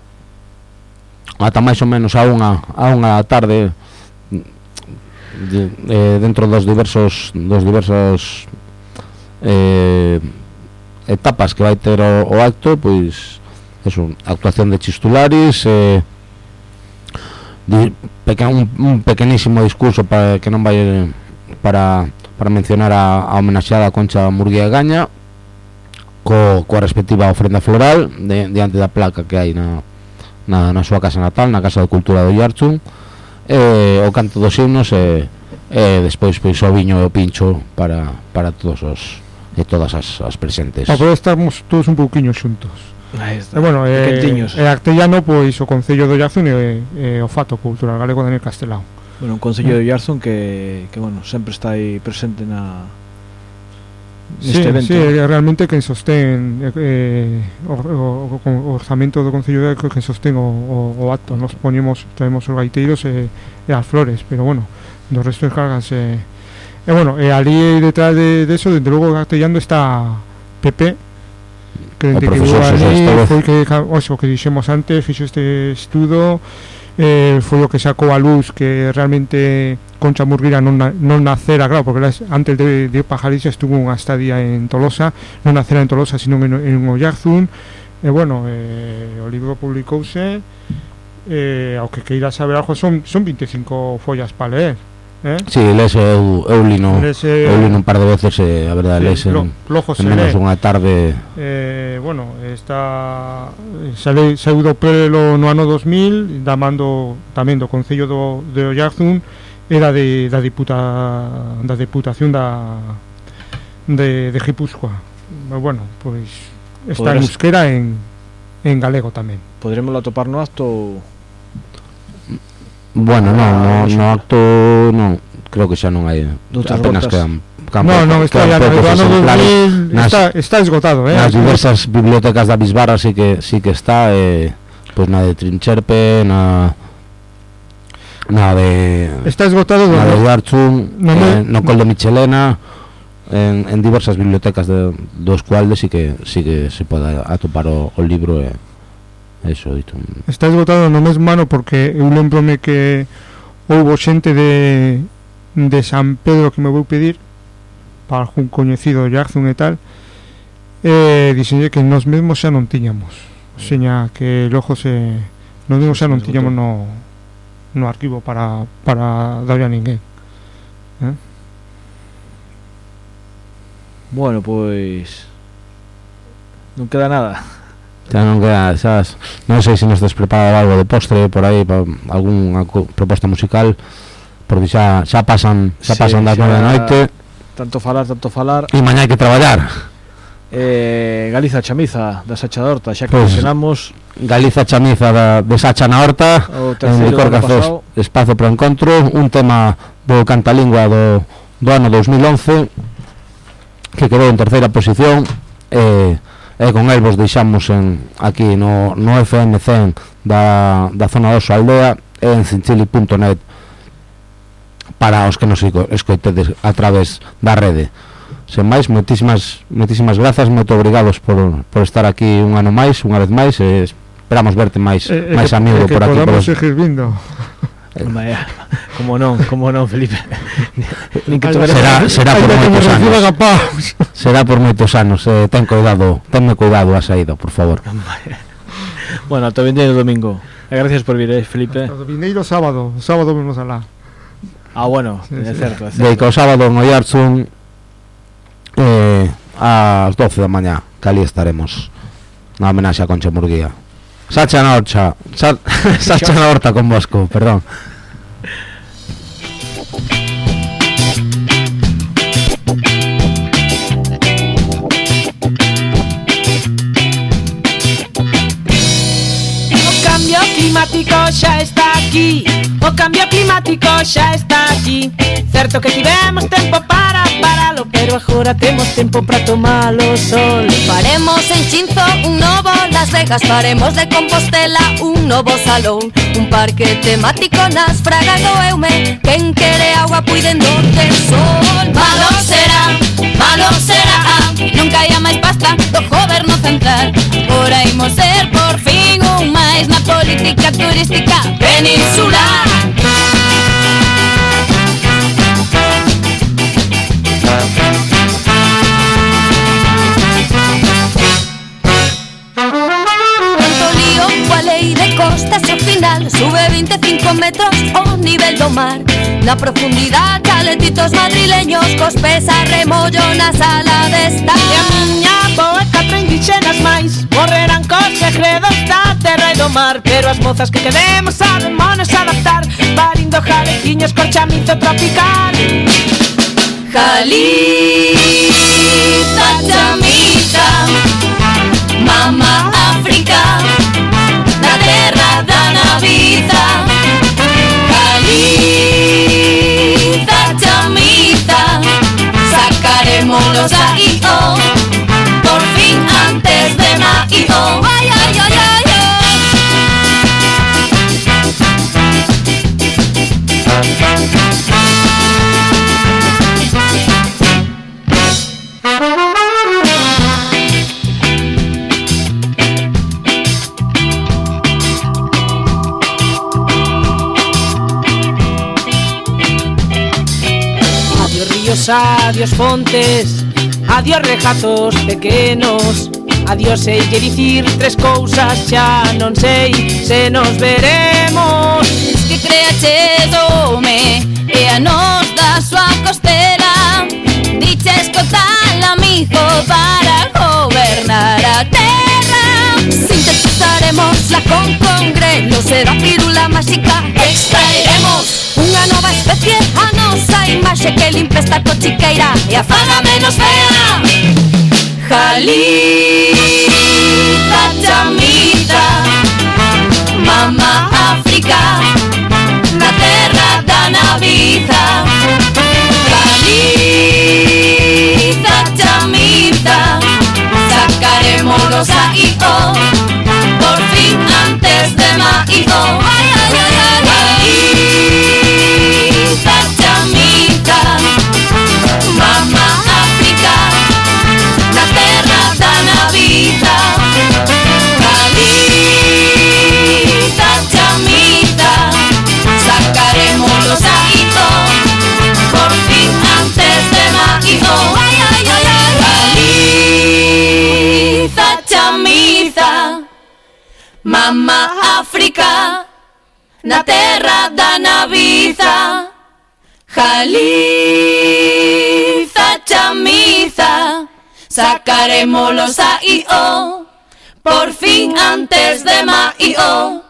ata máis ou menos a unha da tarde, dentro dos diversos etapas que vai ter o acto, pois eso, actuación de Chistularis, un pequenísimo discurso para que non vai para mencionar a homenaxeada Concha Murguía Gaña, coa respectiva ofrenda floral diante da placa que hai na súa casa natal, na Casa de Cultura do Yarchun, o canto dos himnos e despois pois o viño e o pincho para todos e todas as presentes. Para poder estarmos todos un pouquiño xuntos. Bueno, Artellano, pois o Concello do Yarzún e o Fato Cultural Galego Daniel Castelao. Bueno, un Concello do Yarzún que bueno, sempre está aí presente neste evento. Sí, realmente quen sostén o orzamento do Concello de Yarzún, quen sostén o acto. Nos traemos os gaiteiros e as flores, pero bueno, do resto descarganse. Bueno, ali detrás de eso, desde logo Artellano está Pepe, que foi que dixemos antes, fixo este estudo, foi o que sacou a luz que realmente Concha Murguía non nacera, claro, porque antes de Pajarís estuvo unha estadía en Tolosa, non nacera en Tolosa sino en Oyarzún, e bueno, o libro publicouse, ao que queira saber algo son 25 follas para leer. Si, lese eu lino un par de veces, a verdade, lese en menos unha tarde. Bueno, saiu do prelo no ano 2000, da mando tamén do Concello de Oyarzún, era da Diputación de Guipúzcoa. Bueno, pois está en euskera en galego tamén. Podremoslo atopar no acto? Bueno, no acto non, creo que xa non hai, apenas quedan está esgotado, nas diversas bibliotecas da Bisbarra sí que está, pois na de Trincherpe, na de está esgotado, na de Yarchun, no Col de Michelena, en diversas bibliotecas dos cuales sí que se pode atopar o libro eso, dito. Está esgotado no mesmo ano porque eu lembrome que houbo xente de San Pedro que me vou pedir para algún coñecido de Yarzún e tal, dixenlle que nos mesmos xa non tiñamos, seña que logo nos mesmos xa non tiñamos no arquivo para darlle a ninguén. Bueno, pois non queda nada. Ya non queda, sabes, non sei se nos tes preparado algo de postre por aí, algunha proposta musical, porque xa pasan das 9 da noite. Tanto falar. E mañá hai que traballar. Galiza Chamiza da Sacha da Horta, xa que mencionamos. Galiza Chamiza de Sacha na Horta, en Licor Cafés, espazo para encontro, un tema do Cantalingua do ano 2011 que quedou en terceira posición, e con el vos deixamos aquí no FM 100 da zona do Aldea e en cinchili.net para os que nos escoitedes a través da rede. Sen máis, moitísimas grazas, moito obrigados por estar aquí un ano máis, unha vez máis, e esperamos verte máis amigo por aquí. Que podamos seguir vindo. Como non, Felipe. Será por moitos anos. Será por moitos anos. Tenme cuidado a saída, por favor. Bueno, ata o vindeiro domingo. Gracias por vir, Felipe. O vindeiro sábado vemos alá. Bueno, é certo. De que o sábado no Yarchun ás 12 da mañá, que ali estaremos na homenaxe a Concha Murguía. Sacha na Horta con Bosco, perdón. climático xa está aquí. O cambio climático xa está aquí. Certo que tivemos tempo para paralo, pero agora temos tempo para tomar o sol. Faremos en Chinzo un novo Las Vegas, faremos de Compostela un novo salón, un parque temático nas Fragas do Eume. Quen quere agua puidendo ter sol. Malo será, non caia máis pasta do goberno central. Ora imos ser por fin un máis na política turística peninsular. metros o nivel do mar. Na profundidade calentitos madrileños cos pés a remollo na sala de estar. E a miña boa e 4 indígenas máis morrerán cos segredos da terra e do mar. Pero as mozas que queremos sabémonos adaptar, parindo jalequiños con chamizo tropical. Jaliza, chamiza, mama África, na terra da naviza. Jaliza, chamiza, sacarémonos aí, oh, por fin antes de maio. Ay, ay, ay, ay, Adiós fontes, adiós regatos pequenos, adiós sei que dicir 3 cousas, xa non sei se nos veremos. Es que creaches home e a nos da súa costela, diches co tal amigo para gobernar a terra. Sintetizaremosla con congrelos e da pílula máxica extraeremos unha nova especie, a nosa imaxe que limpe esta cochiqueira e a faga menos fea. Jaliza, chamiza, mama África, na terra da naviza. Jaliza, chamiza, sacarémonos aí, oh, por fin antes de maio. Ay, ay, ay, ay, Jaliza, chamiza, mama África, na terra da naviza. Jaliza, chamiza, sacarémonos aí, oh, por fin antes de maio. Ay, ay, ay, ay, Jaliza, chamiza, mama África, na terra da naviza. Jaliza, chamiza, sacarémolos aí, oh, por fin antes de maio.